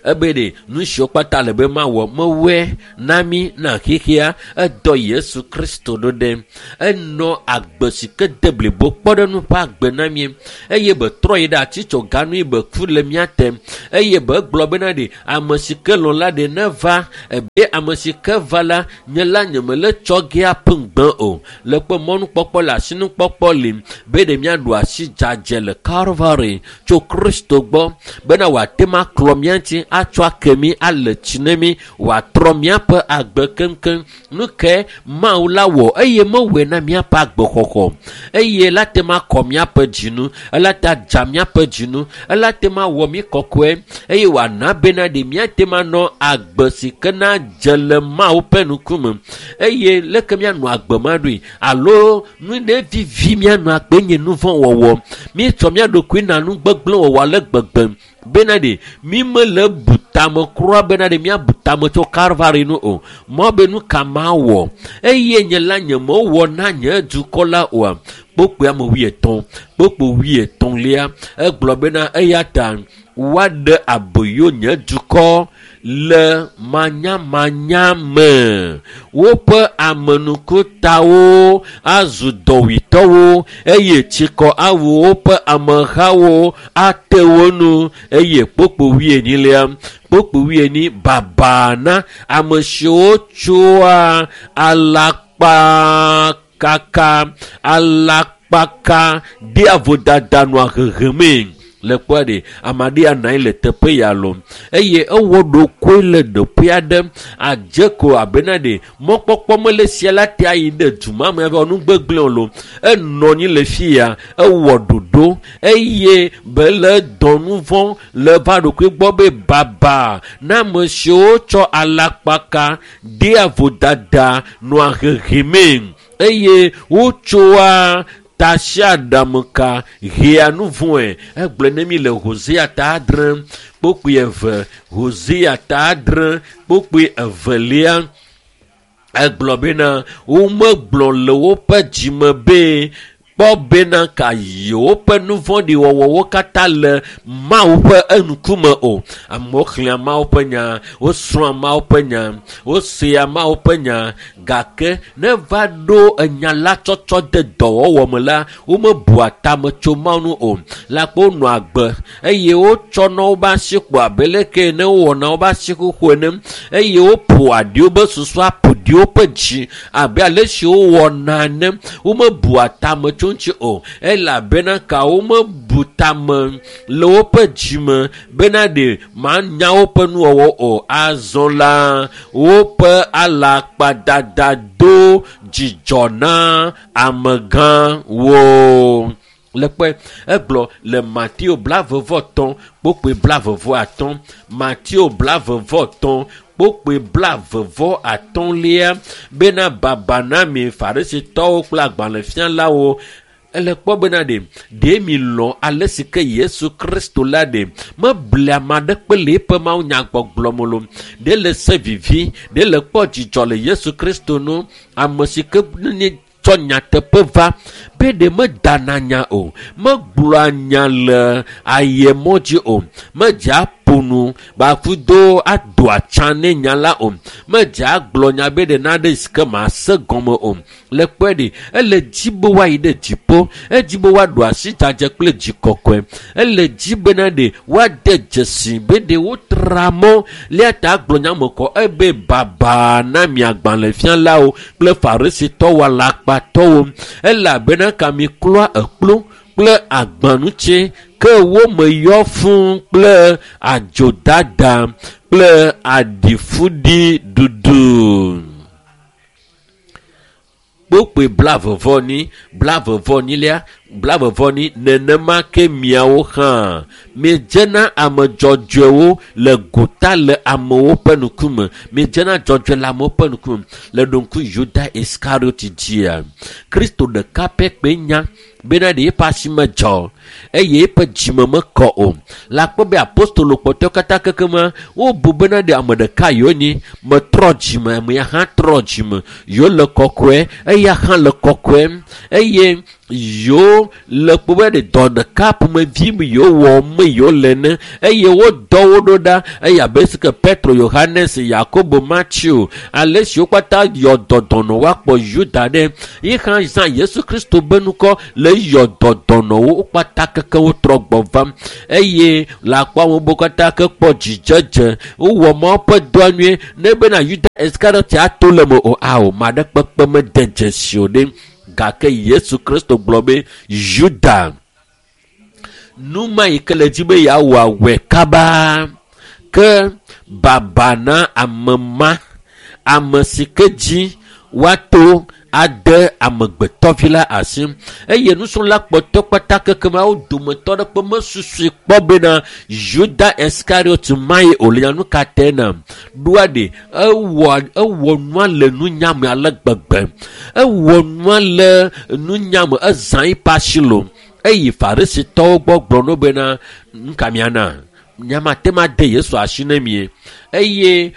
Ebe ɖe nu siwo kpata le be mawɔ mewɔe na mí na xexea. Edɔ Yesu Kristo ɖo ɖe enɔ agbe si ke de blibo kpɔɖeŋu ƒe agbe na mí eye be trɔ yi ɖe atitsoga nu yi be ku le mía te eye be gblɔ bena ɖe ame si ke lɔ̃ la ɖe neva ebe ame si ke va la nye la nyemele tsɔ ge aƒe ŋugbe o. Le kpe mɔnukpɔkpɔ le asinukpɔkpɔ li be ɖe míaɖu asi dzadze le Calvary tso Kristo gbɔ bena wòate ŋu aklɔ mía ŋuti atsɔ ake mí ale tsi ne mí wòatrɔ míaƒe agbe keŋkeŋ. Nu ke Mawu la wɔ eye mewɔe na míaƒe agbexɔxɔ eye la te ŋu akɔ míaƒe dzinu, ela te adza míaƒe dzinu, ela te ŋu awɔ mí kɔkɔe eye wòana bena ɖe míate ŋu anɔ agbe si ke na dze le Mawu ƒe ŋkume eye leke míanɔ agbe ma ɖoe alo nu ɖe vivi míanɔ agbe nye nu vɔ̃ wɔwɔ. Míetsɔ mía ɖokui na nu gbegblẽ wɔwɔ ale gbegbe bena ɖe mí mele bu tame kura bena ɖe míabu tame tso Calvary nu o. Mɔ be nu ka mawɔ eye nye la nyemewɔ na nye dukɔ la oa? Kpokpui ame wuietɔ̃, kpokpui wuietɔ̃lia egblɔ bena eya ta woaɖe aboyo nye dukɔ le manyamanya me. Woƒe amenukutawo azu dɔwuitɔwo eye tsikɔ awu woƒe amehawo ate wo nu eye kpokpui wuienyilia kpokpui wuienyi baba na ame siwo tsoa alakpakaka alakpaka dea vodada nɔa hehemee. Le kpɔa ɖe ame aɖe anɔ anyi le teƒe ya lɔ eye ewɔ ɖokoe le ɖoƒe aɖe adze ko abena ɖe mɔkpɔkpɔ mele sia la te ayi ɖe du ma me ava nu gbegblẽ o lo. Enɔ anyi le fi ya ewɔ ɖoɖo eye be le dɔ nu vɔ̃ le va ɖokui gbɔ be baba na ame siwo tsɔ alakpaka dea vodada nɔa hehemee eye wotsoa tasiaɖamka hea nu vɔ̃e. Egblɔe ne mi le Hosea ta adre kpokpui eve, Hosea ta adre kpokpui evelia egblɔ bena womegblɔ le woƒe dzime be kpɔ bena ka yewoƒe nu vɔ̃ɖi wɔwɔwo katã le Mawu ƒe eŋkume o. Amewo xlẽa Mawu ƒe nya, wosrɔ̃a Mawu ƒe nya, wosea Mawu ƒe nya gake ne va ɖo enya la tsɔtsɔ de dɔwɔwɔ me la, womebua tame tso Mawu ŋu o. La kpe wonɔa agbe eye wotsɔna woƒe asi kpo abe leke ne wowɔna woƒe asi xoxo ene eye woƒoa ɖi woƒe susu aƒo ɖi woƒe dzi abe ale si wowɔna ene. Womebua tame tso ŋuti o elabena ka womebu tame le woƒe dzime bena ɖe manya woƒe nuwɔwɔ o. Azɔ la woƒe alakpadada do dzidzɔ na amegãwo. Le kpɔe egblɔ le Mateo blaeve-vɔ-etɔ̃ kpokpui blaeve-vɔ-atɔ̃, Mateo blaeve-vɔ-etɔ̃ kpokpui blaeve-vɔ-atɔ̃lia bena baba na mi Farisitɔwo kple agbalẽfialawo. Ele kpɔ bena ɖe ɖe mi lɔ̃ ale si ke Yesu Kristo la ɖe meble ame aɖeke le eƒe mawunyagbɔgblɔ me lo. Ɖe le se vivi, ɖe le kpɔ dzidzɔ le Yesu Kristo nu ame si ke ne tsɔ nyateƒe va be ɖe medana nya o, megblɔa nya le ayemɔ dzi o, medzea ƒo nu bakudo ado atsa ne nya la o, medzea gblɔ nya be ɖe naɖe si ke mase gɔme o. Le kpɔe ɖe ele dzi be woayi ɖe dziƒo, edzi be woaɖo asi dzadze kple dzi kɔkɔe, ele dzi bena ɖe woade dzesi be ɖe wotra mɔ lia ta gblɔ nya me kɔ ebe baba na mi agbalẽfialawo kple Farisitɔwo alakpatɔwo elabena ka mi klɔa ekplu kple agbanutsi ke wo me yɔ fũu kple adzodada kple aɖifuɖi ɖuɖu. Kpokpoe blavevɔni, blavevɔnilia, blavevɔni, nenema ke miawo hã miedzena ame dzɔdzɔewo le gota le amewo ƒe ŋkume. Miedzena dzɔdzɔe le amewo ƒe ŋkume. Le ɖo ŋku Yuda Iskariot dzia, Kristo ɖeka pɛ kpe nya bena ɖe eƒe asi medzɔ eye eƒe dzime mekɔ o. Le akpɔ be apostolo kpɔtɔewo katã kekema wobu bena ɖe ame ɖeka yewo nyi metrɔ dzime, ame ya hã trɔ dzime, yewo le kɔkɔe, eya hã le kɔkɔe, eye yewo le kpɔ be ɖe dɔ ɖeka ƒomevi me yewo wɔ me yewo le ne, eye wodɔ wo ɖo ɖa, eye abe si ke Petro, Yohanes, Yakobo, Matthew, ale si wo katã yɔ dɔ dɔnɔ woakpɔ Yuda ɖe, yi hã zã Yesu Kristo be ŋkɔ le yɔ dɔ dɔnɔwo, wo kpata keke wotrɔ gbɔ vam, eye le akpɔ amewo bo katã ke kpɔ dzidzedze, wowɔ Mawu ƒe dɔa nyuie, ne bena Yuda Iskariot ato le me o, ao, ma ɖe kpekpe mede dzesi o ɖe. Gake Yesu Kristo gblɔ be, Yuda, nu ma yi ke le dzi be yeawɔ awɔe kaba, ke baba na ame ma, ame si ke dzi woato ade amegbetɔvi la asi. Eye nusrɔ̃la kpɔtɔ kpata kekema wo dometɔ ɖe kpe mesusui kpɔ bena Yuda Iskariot ma ye o le nya nu ka te na. Ɖoa ɖe, ewɔ nua le nunya me ale gbegbe. Ewɔ nua le nunya me, ezã eƒe asi lo. Eyi Farisitɔwo gbɔ gblɔ no bena, nu ka miana? Nyamate ma de Yesu asi ne mie. Eye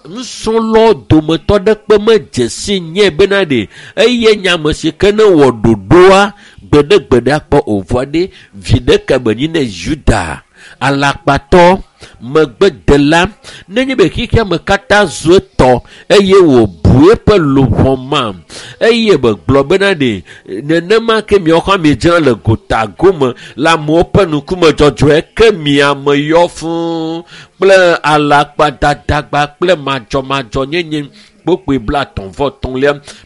nusrɔ̃lawo dometɔ ɖe kpe medze si nye bena ɖe, eye nyame si ke ne wɔ ɖoɖoa, gbeɖegbeɖe akpɔ o. Vɔa ɖe, vi ɖeke menyi ne Yuda, alakpatɔ, megbedela, nenye be xexea me katã zu etɔ, eye wòbu eƒe luʋɔ ma, eye megblɔ bena ɖe, nenema ke miawo hã miedzena le gota gome le amewo ƒe ŋkume dzɔdzɔe, ke miame yɔ fũu kple alakpadadagba kple madzɔmadzɔnyenye. Kpokpoe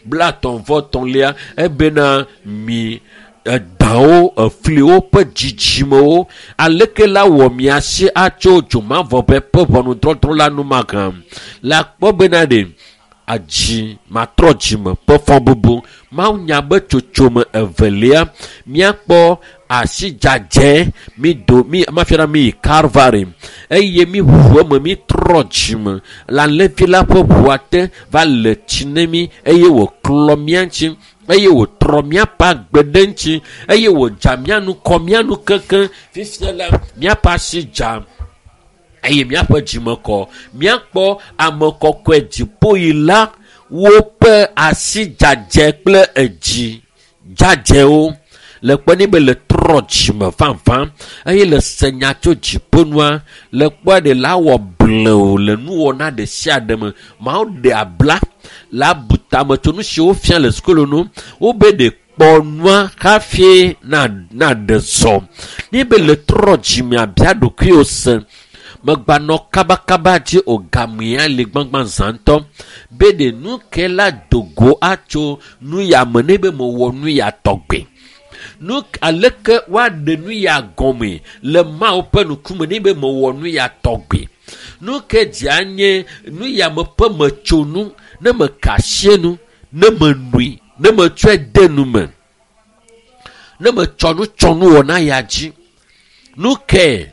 33, ebena mi edawo, efliwo ƒe dzidzimewo, aleke la wɔ miasi atso dzomavɔʋe ƒe ʋɔnudɔdrɔ̃ la nu mahã. Le akpɔ bena ɖe, adzi matrɔ dzime ƒe fɔbubu. Mawu nya be tsotsome evelia, miakpɔ asi dzadzɛ, mi do, mi, mafia na mi yi Calvary, eye mi ʋu eme, mi trɔ dzime. Le alẽvi la ƒe ʋua te va le tsi ne mi, eye wòklɔ mía ŋuti, eye wòtrɔ míaƒe agbe ɖe ŋuti, eye wòdza mía nu, kɔ mía nu keŋkeŋ. Fifia la, míaƒe asi dza, eye míaƒe dzime kɔ. Míakpɔ ame kɔkɔe dziƒoyila woƒe asi dzadzɛ kple edzi dzadzɛwo. Le kpɔ ne be le trɔ dzime vavã, eye le se nya tso dziƒonua, le kpɔa ɖe la wɔ blewu le nuwɔna ɖe sia ɖe me. Mawu ɖe abla le abu tame tso nu siwo fia le sukulu nu. Wobe ɖe kpɔ nua hafi na ɖe zɔ. Ne be le trɔ dzime abia ɖokuiwò se, megbanɔ kabakaba dzi o, gamea le gbãgbã zã ŋutɔ. Be ɖe nu ke la dogo atso nu ya me ne be mewɔ nu ya tɔgbe. Nu aleke woaɖe nu ya gɔme le Mawu ƒe ŋkume ne be mewɔ nu ya tɔgbe. Nu ke dzia nye nu ya me ƒe metsonu, ne meka asi nu, ne menui, ne metsɔe de nu me, ne metsɔ nu tsɔ nu wɔ na ya dzi. Nu ke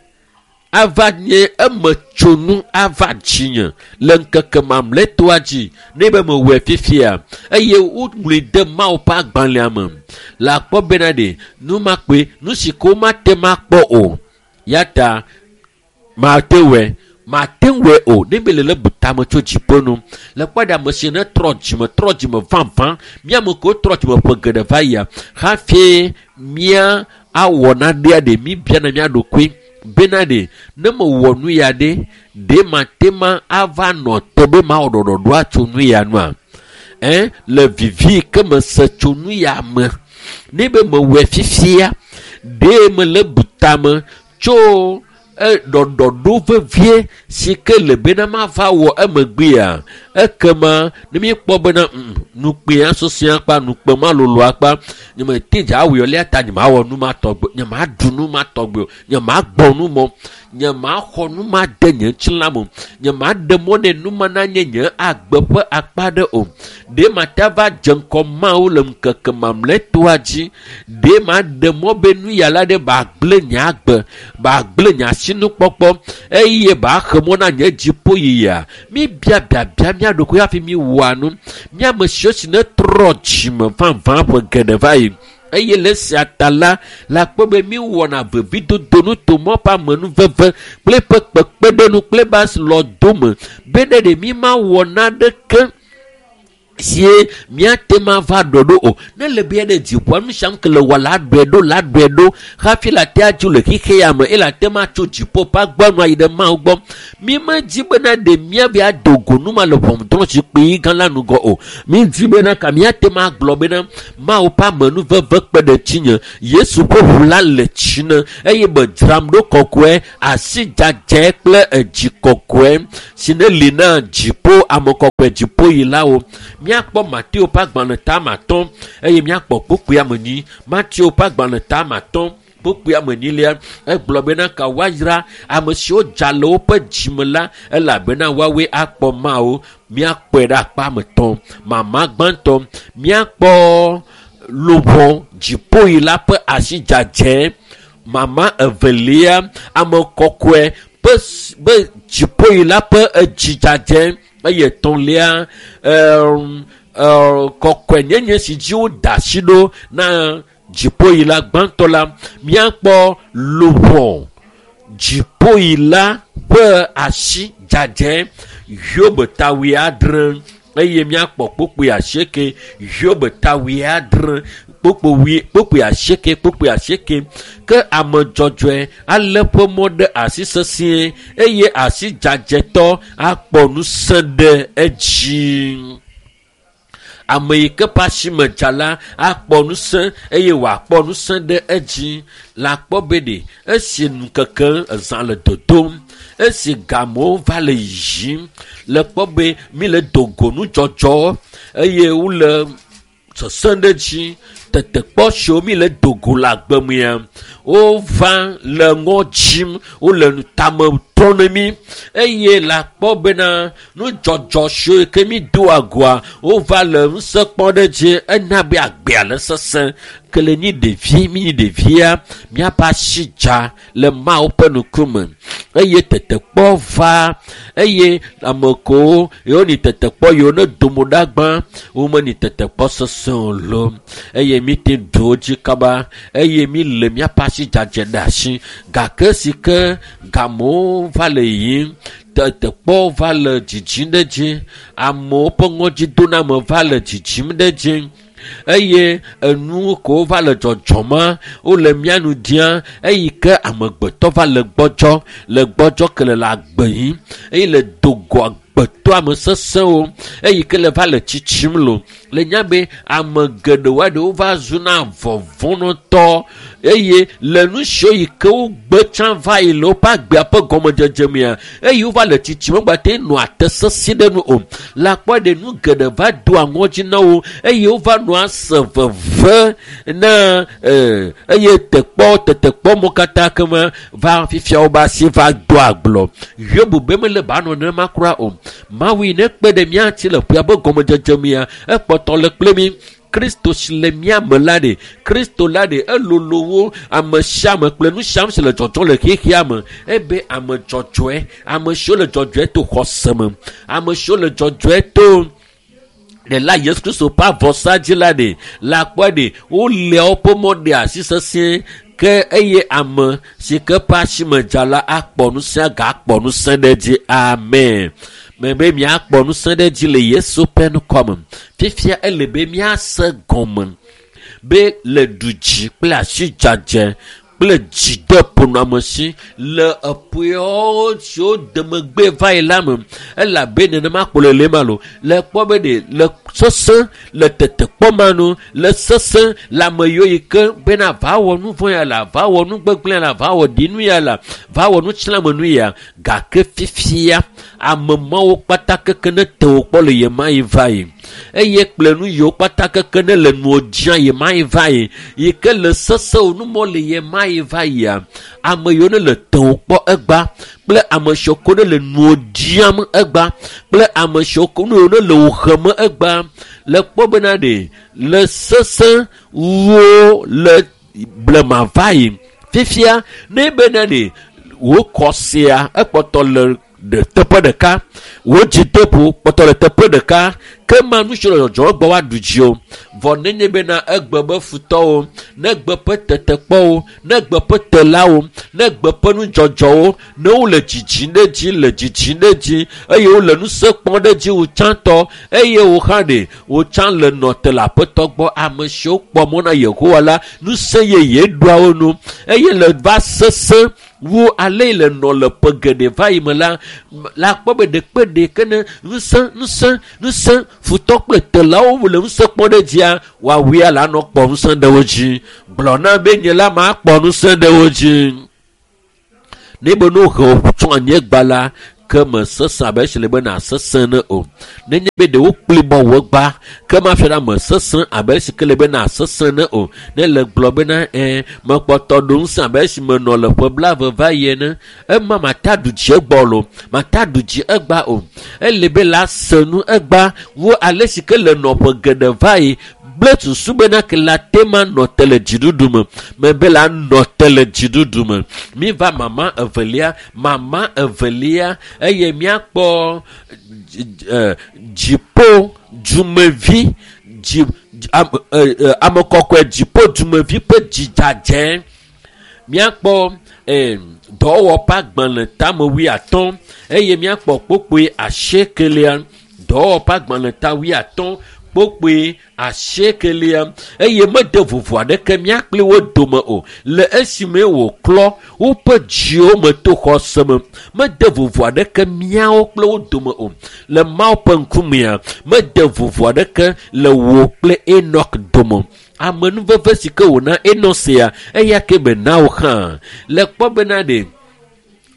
ava nye emetsonu ava dzinye le ŋkeke mamlɛtɔa dzi ne be mewɔe fifia, eye woŋlɔe de Mawu ƒe agbalẽa me. Le akpɔ bena ɖe nu ma kpe, nu si ke womate ŋu akpɔ o, ya ta mate wɔe, mate wɔe o. Ne be le le bu tame tso dziƒo nu. Le kpɔ ɖe ame si ne trɔ dzime, trɔ dzime vavã, mía ame kewo trɔ dzime ƒe geɖe va yia, hafi mía awɔ naɖea ɖe mí biana mía ɖokui bena ɖe, ne mewɔ nu ya ɖe, ɖe mate ma ava nɔ te be mawɔ ɖɔɖɔɖo atso nu ya nua? Le vivi ke mese tso nu ya me, ne be mewɔe fifia, ɖe mele bu tame tso ɖɔɖɔɖo vevie si ke le bena mava wɔ emegbea? Ekema ne míekpɔ bena nukpea sesẽ akpa, nukpe ma lolo akpa, nyemete dza awɔe o, eya ta nyemawɔ nu ma tɔgbe, nyemaɖu nu ma tɔgbe o, nyemagbɔ nu mɔ, nyemaxɔ nu ma de nye ŋutilã me o, nyemaɖe mɔ ne nu ma nanye nye agbe ƒe akpa ɖe o. Ɖe mate va dze ŋkɔ Mawu le ŋkeke mamlɛtɔa dzi? Ɖe maɖe mɔ be nu ya la ɖe bagblẽ nye agbe, bagblẽ nye asinukpɔkpɔ eye baxe mɔ na nye dziƒoyiyia? Míbia biabia mía ɖokui hafi míwɔa nu. Mía ame siwo si netrɔ dzime vavã ƒe geɖe va yi. Eye le esia ta la, le akpɔ be míewɔna vevidodo nutomɔ ƒe amenuveve kple eƒe kpekpeɖeŋu kple eƒe asilɔdome be ne ɖe mímawɔ naneke sie míate ma va ɖɔ ɖo o. Ne le be ɖe dziƒoa nu sia nu ke le wɔ la ɖɔe ɖo la ɖɔe ɖo hafi le ate adzo le xexe ya me eye le ate ma tso dziƒo ƒe agbɔnu ayi ɖe Mawu gbɔ. Mímedi bena ɖe míavi ado go nu ma le ʋɔnudrɔ̃zikpui gã la nugɔ o. Mídi bena ka míate ma gblɔ bena Mawu ƒe amenuveve kpe ɖe tsinye. Yesu ƒe ʋu la le tsi ne eye medzram ɖo kɔkɔe, asi dzadzɛ kple edzi kɔkɔe si ne li na dziƒo ame kɔkɔe dziƒoyilawo. Míakpɔ Mateo ƒe agbalẽ tame atɔ̃ eye míakpɔ kpukpui ame enyi. Mateo ƒe agbalẽ tame atɔ̃ kpukpui ame enyilia egblɔ bena ka woayra ame siwo dza le woƒe dzime la elabena woawoe akpɔ Mawu. Míakpɔe ɖe akpa ame etɔ̃. Mama gbãtɔ, míakpɔ luʋɔ dziƒoyila ƒe asi dzadzɛ. Mama evelia, ame kɔkɔe ƒe be dziƒoyila ƒe edzi dzadzɛ. Eye etɔ̃lia, kɔkɔenyenye si dzi woda asi ɖo na dziƒoyila gbãtɔ la, míakpɔ luʋɔ dziƒoyila ƒe asi dzadzɛ Hiob ta wuiadre eye míakpɔ kpukpui asieke. Hiob ta wuiadre kpukpui asieke kpukpui asieke. Ke ame dzɔdzɔe alé ƒe mɔ ɖe asi sesĩe eye asi dzadzɛtɔ akpɔ ŋusẽ ɖe edzi. Ame yi ke ƒe asi me dza la akpɔ ŋusẽ eye wòakpɔ ŋusẽ ɖe edzi. Le akpɔ be ɖe esi ŋkeke ezã le dodom, esi gamewo va le yiyim, le kpɔ be mi le do go nudzɔdzɔ eye wole sesẽ ɖe dzi. Tetekpɔ siwo mi le do go le agbe mea, wova le ŋɔ dzim, wole tame trɔm ne mí eye le akpɔ bena nudzɔdzɔ siwo ke mi doa goa, wova le ŋusẽ kpɔm ɖe dzi ena be agbea le sesẽ. Ke le nyi ɖevi, mi nyi ɖevia, míaƒe asi dza le Mawu ƒe ŋkume eye tetekpɔ va eye ame kewo yewo nyi tetekpɔ yiwo ne do mo ɖa gbã, womenyi tetekpɔ sesẽ o loo eye mi te ɖu wo dzi kaba eye mi le míaƒe asi dzadzɛ ɖe asi. Gake si ke gamewo va le yiyim, tetekpɔ va le dzidzim ɖe dzi, amewo ƒe ŋɔdzidoname va le dzidzim ɖe dzi eye enu kewo va le dzɔdzɔma wole mía nu dia eyi ke amegbetɔ va le gbɔdzɔ le gbɔdzɔ ke le agbe yim eye le do go agbetɔ ame sesẽwo eyi ke le va le tsitsim lo. Le nya be ame geɖewo aɖewo va zuna vɔvɔ̃nɔtɔ eye le nu siwo yi ke wogbe tsã va yi le woƒe agbea ƒe gɔmedzedze mea eye wova le tsitsim wogbate nɔa te sesĩ ɖe nu o. Le akpɔ ɖe nu geɖe va doa ŋɔdzi na wo eye wova nɔa se veve na eye tekpɔ tetekpɔ mo katã kema va fifia wobe asi va doa gblɔ. Hiob be mele ba nɔ nenema kura o. Mawu yi ne kpe ɖe mía ŋuti le ƒea ƒe gɔmedzedze mea, ekpɔtɔ le kple mí. Kristo si le mía me la ɖe, Kristo la ɖe, elolo wo ame sia ame kple nu sia nu si le dzɔdzɔm le xexea me. Ebe ame dzɔdzɔe, ame siwo le dzɔdzɔe to xɔse me, ame siwo le dzɔdzɔe to ɖela Yesu Kristo ƒe avɔsa dzi la ɖe, le akpɔ ɖe, wolea woƒe mɔ ɖe asi sesĩe ke eye ame si ke ƒe asi me dza la akpɔ ŋusẽ gakpɔ ŋusẽ ɖe dzi. Amen. Mebe míakpɔ ŋusẽ ɖe dzi le Yesu ƒe ŋkɔme. Fifia ele be míase gɔme be le du dzi kple asi dzadzɛ kple dzideƒonɔamesi le eƒeawo siwo demegbe va yi la me elabe nenema kpo le le ma lo le kpɔ be ɖe le sesẽ le tetekpɔ ma nu le sesẽ le ame yiwo yi ke bena va wɔ nu vɔ̃ ya la va wɔ nu gbegblẽ la va wɔ ɖinu ya la va wɔ nutsiãmenu ya gake fifia ame mawo kpata keke ne te wo kpɔ le yema yi va yi eye kple nu yiwo kpata keke ne le nuwo dzia yema yi va yi yi ke le sesẽ wo numɔ le yema yi va yia ame yiwo ne le te wo kpɔ egba kple ame siwo ko ne le nuwo dziam egba kple ame siwo ko ne le wo hem egba le kpɔ bena ɖe le sesẽ wo le blema va yi fifia ne bena ɖe wò kɔsia ekpɔtɔ le ɖe teƒe ɖeka wò dzideƒo kpɔtɔ le teƒe ɖeka ke ma nu si le dzɔdzɔm gbɔ woaɖu dzi o vɔ nenye bena egbe be futɔwo ne gbe ƒe tetekpɔwo ne gbe ƒe telawo ne gbe ƒe nudzɔdzɔwo ne wole dzidzim ɖe dzi le dzidzim ɖe dzi eye wole ŋusẽ kpɔm ɖe dzi wò tsãtɔ eye wò hã ɖe wò tsã le nɔ te le aƒetɔ gbɔ ame siwo kpɔ mɔ na Yehowa la ŋusẽ yeye ɖoa wo nu eye le va sesẽ wu ale le nɔ le ƒe geɖe va yi me la la kpɔ be ɖekpe ɖeke ne ŋusẽ ŋusẽ ŋusẽ futɔ kple telawo le ŋusẽ kpɔm ɖe dzia woawuia la nɔ kpɔ ŋusẽ ɖe wo dzi gblɔ na be nye la ma kpɔ ŋusẽ ɖe wo dzi ne be no he tso anyigba la ke me sesẽ abe esi le be na sesẽ ne o nenye be ɖewo kpli bɔ wò gba ke ma fia ɖe ame sesẽ abe esi ke le be na sesẽ ne o ne le gblɔ bena ɛ mekpɔtɔ ɖo ŋusẽ abe esi menɔ le ƒe blaeve va yi ene ema mata ɖu dzi egbɔ lo mata ɖu dzi egba o ele be la se nu egba wo ale si ke le nɔƒe geɖe va yi gblẽ susu bena ke la te ma nɔ te le dziɖuɖu me mebe la nɔ te le dziɖuɖu me mi va mama evelia mama evelia eye míakpɔ dziƒo dumevi dzi ame kɔkɔe dziƒo dumevi ƒe dzidzadze míakpɔ dɔwɔƒe agbalẽ tame wuiatɔ̃ eye míakpɔ kpokpoe asiekelia dɔwɔƒe agbalẽ ta wuiatɔ̃ kpokpoe asiekelia eye mede vovo aɖeke mía kpli wo dome o le esime wòklɔ woƒe dziwo me to xɔse me mede vovo aɖeke míawo kple wo dome o le Mawu ƒe ŋkumea mede vovo aɖeke le wò kple Enok dome amenuveve si ke wòna Enok sia eya ke be na wò hã le kpɔ bena ɖe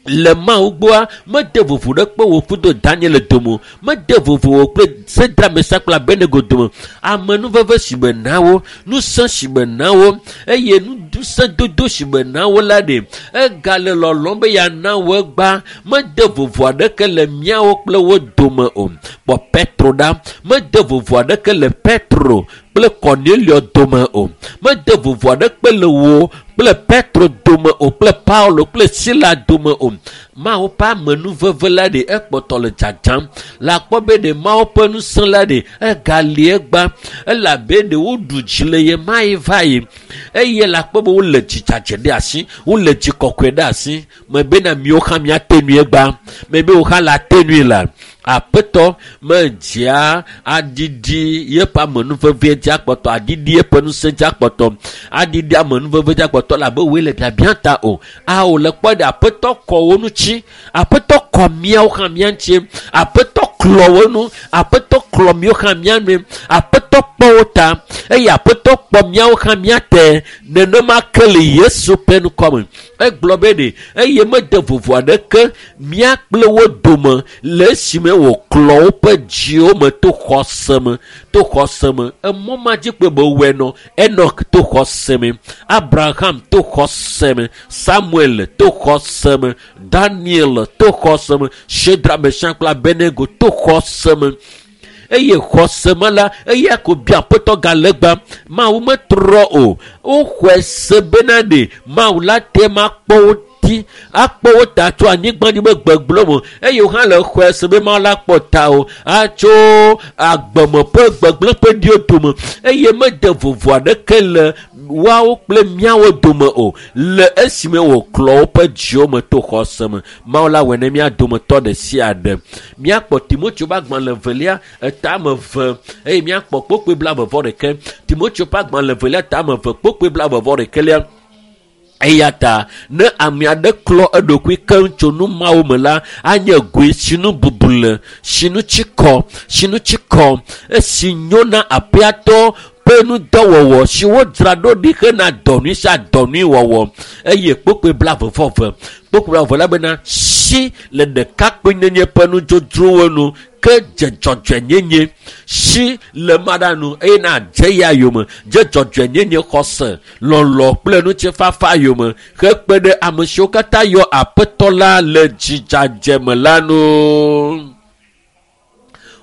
le Mawu gbɔa mede vovo ɖe kpe wò kudo Daniel dome mede vovo wò kple Sedra Mesak kple Abednego dome amenuveve si be na wo ŋusẽ si be na wo eye ŋusẽ dodo si be na wo la ɖe egale lɔlɔm be yeana wo egba mede vovo aɖeke le míawo kple wo dome o kpɔ Petro ɖa mede vovo aɖeke le Petro kple Cornelio dome o mede vovo aɖeke le wo kple Petro dome o kple Paulo kple Sila dome o Mawu ƒe amenuveve la ɖe ekpɔtɔ le dzadzam le akpɔ be ɖe Mawu ƒe ŋusẽ la ɖe egali egba elabe ɖe woɖu dzi le ye ma yi va yi eye le akpɔ be wole dzidzadze ɖe asi wole dzi kɔkɔe ɖe asi mebena miwo hã miate nui egba mebe wo hã la te nui la aƒetɔ medzia aɖiɖi yeƒe amenuveve dzi akpɔtɔ aɖiɖi yeƒe ŋusẽ dzi akpɔtɔ aɖiɖi amenuveve dzi akpɔtɔ labe woe le biabia ta o awo le kpɔ ɖe aƒetɔ kɔ wo ŋuti aƒetɔ kɔ míawo hã mía ŋuti aƒetɔ klɔ wo nu aƒetɔ klɔ míawo hã mía nu aƒetɔ kpɔ wo ta eye aƒetɔ kpɔ míawo hã mía te nenema ke le Yesu ƒe ŋkɔ me egblɔ be ɖe eye mede vovo aɖeke mía kple wo dome le esime wòklɔ woƒe dziwo me to xɔse me to xɔse me emɔ ma dzi kpe be wɔe nɔ Enok to xɔse me Abraham to xɔse me Samuel to xɔse me Daniel to xɔse me Shedra Mesak kple Abednego to xɔse me eye xɔse me la eya ko bia aƒetɔ galegba Mawu metrɔ o woxɔe se bena ɖe Mawu la te ma kpɔ wo ti akpɔ wo ta tso anyigba dzi be gbegblẽ me eye wo hã le xɔe se be Mawu la kpɔ ta o atso agbeme ƒe gbegblẽ ƒe ɖiwo dome eye mede vovo aɖeke le woawo kple míawo dome o le esime wòklɔ woƒe dziwo me to xɔse me Mawu la wɔe ne mía dometɔ ɖe sia ɖe míakpɔ Timoteo ƒe agbalẽ evelia etame eve eye míakpɔ kpokpoe blaeve vɔ ɖeke Timoteo ƒe agbalẽ evelia tame eve kpokpoe blaeve vɔ ɖekelia. Eya ta ne ame aɖe klɔ eɖokui keŋ tso nu mawo me la, anye goe si nu bubu le, si nu tsi kɔ, si nu tsi kɔ, esi nyo na aƒeatɔ ƒe nudɔwɔwɔ si wodzra ɖo ɖi hena dɔnui sia dɔnui wɔwɔ. Eye kpokpoe 22, kpokpoe 22 la bena si le ɖekakpuinyenye ƒe nudzodzrowo nu ke dze dzɔdzɔenyenye si le maɖa nu eye na dze ya yome dze dzɔdzɔenyenye xɔse lɔlɔ kple ŋutifafa yome hekpe ɖe ame siwo katã yɔ aƒetɔ la le dzidzadze me la nu.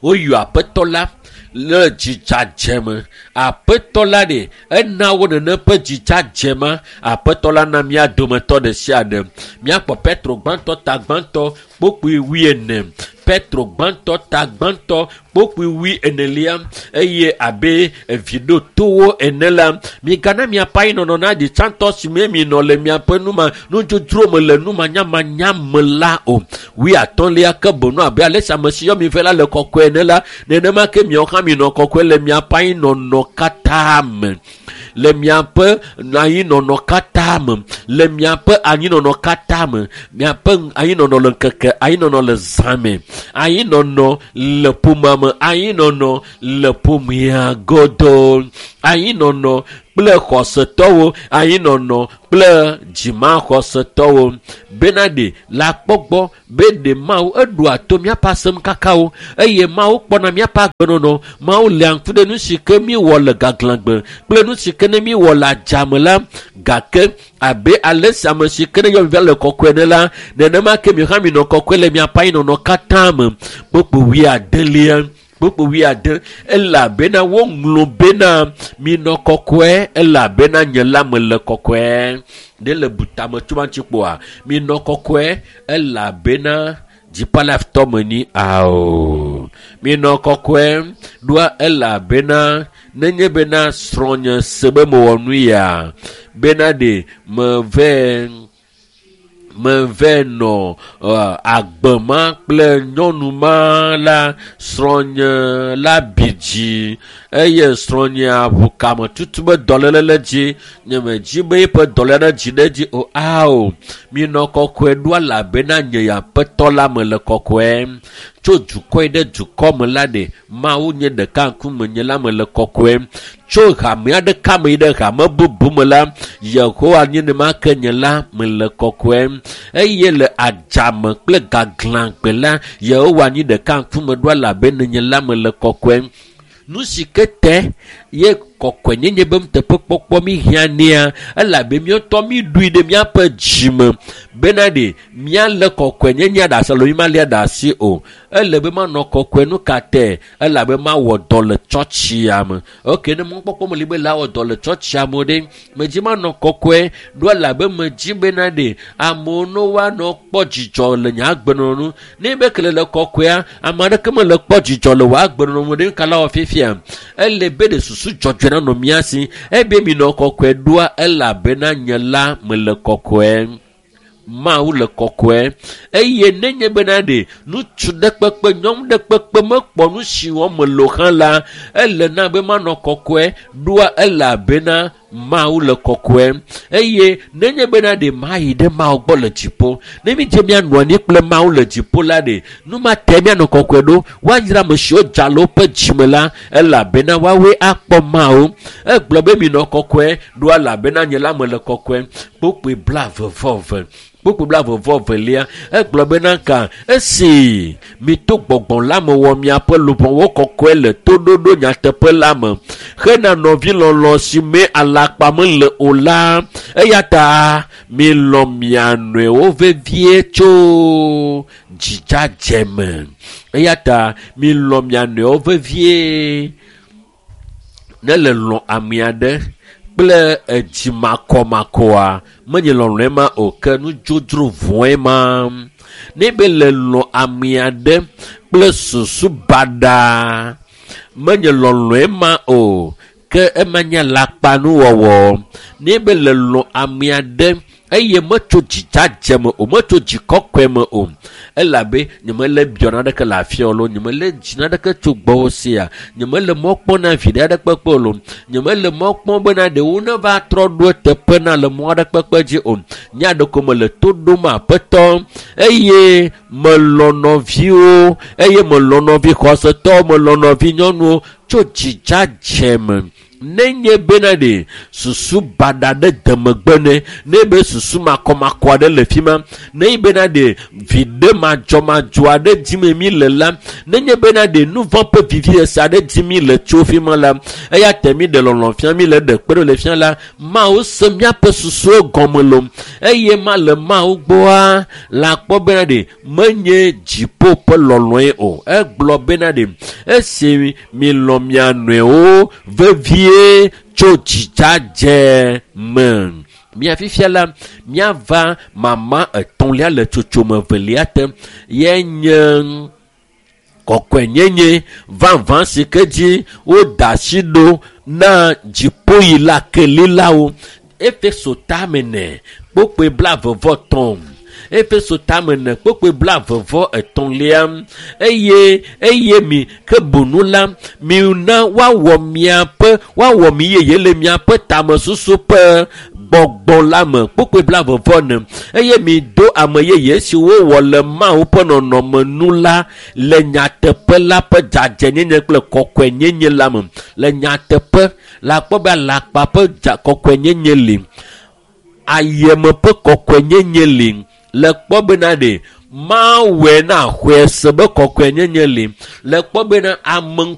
Woyɔ aƒetɔ la le dzidzadze me. Aƒetɔ la ɖe ena wo nene ƒe dzidzadze ma. Aƒetɔ la na mía dometɔ ɖe sia ɖe. Míakpɔ Petro gbãtɔ ta gbãtɔ kpokpoe 40. Petro gbãtɔ ta gbãtɔ kpokpoe 40 eye abe evi ɖo towo ene la, migana miaƒe anyinɔnɔ na ɖi tsãtɔ si me minɔ le miaƒe numa nudzodzro me le numanyamanya me la o. 50 ke boŋ abe ale si ame si yɔ mi vɛ la le kɔkɔe ene la, nenema ke miawo hã minɔ kɔkɔe le miaƒe anyinɔnɔ katã me. Le miaƒe anyinɔnɔ katã me, le miaƒe anyinɔnɔ katã me, miaƒe anyinɔnɔ le ŋkeke, anyinɔnɔ le zã me, anyinɔnɔ le ƒomea me, anyinɔnɔ le ƒomea godoo, anyinɔnɔ kple xɔsetɔwo, anyinɔnɔ kple dzimaxɔsetɔwo. Bena ɖe la kpɔgbɔ be ɖe Mawu eɖoa to míaƒe asem kakawo eye Mawu kpɔna míaƒe agbenɔnɔ. Mawu léa ŋku ɖe nu si ke míwɔ le gaglãgbe kple nu si ke ne míwɔ le adzame la. Gake abe ale si ame si ke ne yɔ mi va le kɔkɔe ene la, nenema ke mi hã minɔ kɔkɔe le miaƒe anyinɔnɔ katã me. Kpokpo 70. Kpokpo 70 elabena woŋlɔ bena minɔ kɔkɔe elabena nye la mele kɔkɔe. Ɖe le butame tso ma ŋuti kpoa? Minɔ kɔkɔe elabena dziƒolaftɔ menyi ao. Minɔ kɔkɔe ɖoa elabena nenye bena srɔ̃nye se be mewɔ nu ya bena ɖe meve nɔ agbe ma kple nyɔnu ma la, srɔ̃nye la bi dzi eye srɔ̃nyea ʋu kame tutu be dɔléle le dzi. Nye medzi be eƒe dɔléle ne dzi ɖe edzi o. Ao, minɔ kɔkɔe ɖo elabena nye aƒetɔ la mele kɔkɔe. Tso dukɔ yi ɖe dukɔ me la ɖe Mawu nye ɖeka ŋkume nye la mele kɔkɔe. Tso hame aɖeka me yi ɖe hame bubu me la, Yehowa nye nema ke nye la mele kɔkɔe. Eye le adzame kple gaglãgbe la, Yehowa nye ɖeka ŋkume ɖo elabena nye la mele kɔkɔe. Nu si ke te ye kɔkɔenyenye be nuteƒekpɔkpɔ mi hiã nea, elabe míatɔ mi ɖui ɖe míaƒe dzime bena ɖe míalé kɔkɔenyenye ɖe asi alo mi malia ɖe asi o. Ele be manɔ kɔkɔe nu ka te? Elabe mawɔ dɔ le tsɔtsia me. Ok, ne mɔkpɔkpɔ meli be la wɔ dɔ le tsɔtsia me ɖe, medzi manɔ kɔkɔe ɖo elabe medzi bena ɖe amewo ne woanɔ kpɔ dzidzɔ le nye agbenɔnɔ nu. Ne be kele le kɔkɔea, ame aɖeke mele kpɔ dzidzɔ le wò agbenɔnɔ me ɖe kala wɔ fifia. Ele be ɖe susu dzɔdzɔe nanɔ mía si. Ebe minɔ kɔkɔe ɖoa elabena nye la mele kɔkɔe. Mawu le kɔkɔe. Eye nenye bena ɖe ŋutsu ɖe kpekpe, nyɔnu ɖe kpekpe mekpɔ nu si wɔm mele o hã la, ele na be manɔ kɔkɔe ɖoa elabena Mawu le kɔkɔe. Eye nenye bena ɖe mayi ɖe Mawu gbɔ le dziƒo, ne mi dze mianɔ anyi kple Mawu le dziƒo la ɖe, nu ma te mianɔ kɔkɔe ɖo. Woayra ame siwo dza le woƒe dzime la, elabena woawoe akpɔ Mawu. Egblɔ be minɔ kɔkɔe ɖo elabena nye la mele kɔkɔe. Kpokpoe 22. Kpokpoe 22 egblɔ bena ka esi mito gbɔgbɔ la me wɔ miaƒe luʋɔwo kɔkɔe le toɖoɖo nyateƒe la me hena nɔvilɔlɔ̃ si me alakpa mele o la, eya ta milɔ̃ mia nɔewo vevie tso dzidzadze me. Eya ta milɔ̃ mia nɔewo vevie. Ne le lɔ̃ ame aɖe kple edzimakɔmakɔa, menye lɔlɔ̃e ma o, ke nudzodzro vɔ̃e ma. Ne be le lɔ̃ ame aɖe kple susu baɖa, menye lɔlɔ̃e ma o, ke ema nye alakpanuwɔwɔ. Ne be le lɔ̃ ame aɖe Eye metso dzidzadze me o, metso dzikɔkɔe me o. Elabe nyemele biɔ naneke le afia o loo, nyemele dzi naneke tso gbɔwò sia, nyemele mɔ kpɔm na viɖe aɖe kpekpe o loo, nyemele mɔ kpɔm bena ɖewo neva trɔ ɖo eteƒe na le mɔ aɖe kpekpe dzi o. Nya ɖeko mele to ɖom Aƒetɔ eye melɔ̃ nɔviwo eye melɔ̃ nɔvi xɔsetɔwo, melɔ̃ nɔvi nyɔnuwo tso dzidzadze me. Nenye bena ɖe susu baɖa ɖe de megbe ne, ne be susu makɔmakɔ aɖe le fi ma, nenye bena ɖe viɖe madzɔmadzɔ aɖe dim mi le la, nenye bena ɖe nu vɔ̃ ƒe vivisese aɖe dim mi le tso fi ma la, eya ta mi ɖe lɔlɔ̃ fia mi le ɖe kpe ɖo le fia la, Mawu se míaƒe susuwo gɔme loo eye ma le Mawu gbɔa la kpɔ bena ɖe menye dziƒo ƒe lɔlɔ̃e o. Egblɔ bena ɖe esi milɔ̃ mia nɔewo vevie tso dzidzadze me. Mía fifia la, míava mama etɔ̃lia le tsotsome evelia te ye nye kɔkɔenyenye vavã si ke dzi woda asi ɖo na dziƒoyila kelilawo. Efeso tame ne kpokpoe 33. Efeso tame ne kpokpoe 33 eye eye mi ke bunu la mina woawɔ miaƒe woawɔ mi yeye le miaƒe tamesusu ƒe gbɔgbɔ la me kpokpoe 44 eye mi do ame yeye si wowɔ le Mawu ƒe nɔnɔme nu la le nyateƒe la ƒe dzadzɛnyenye kple kɔkɔenyenye la me. Le nyateƒe la kpɔ be alakpa ƒe kɔkɔenyenye li, ayeme ƒe kɔkɔenyenye li, le kpɔ bena ɖe Mawɔe na xɔe se be kɔkɔenyenye li, le kpɔ bena ame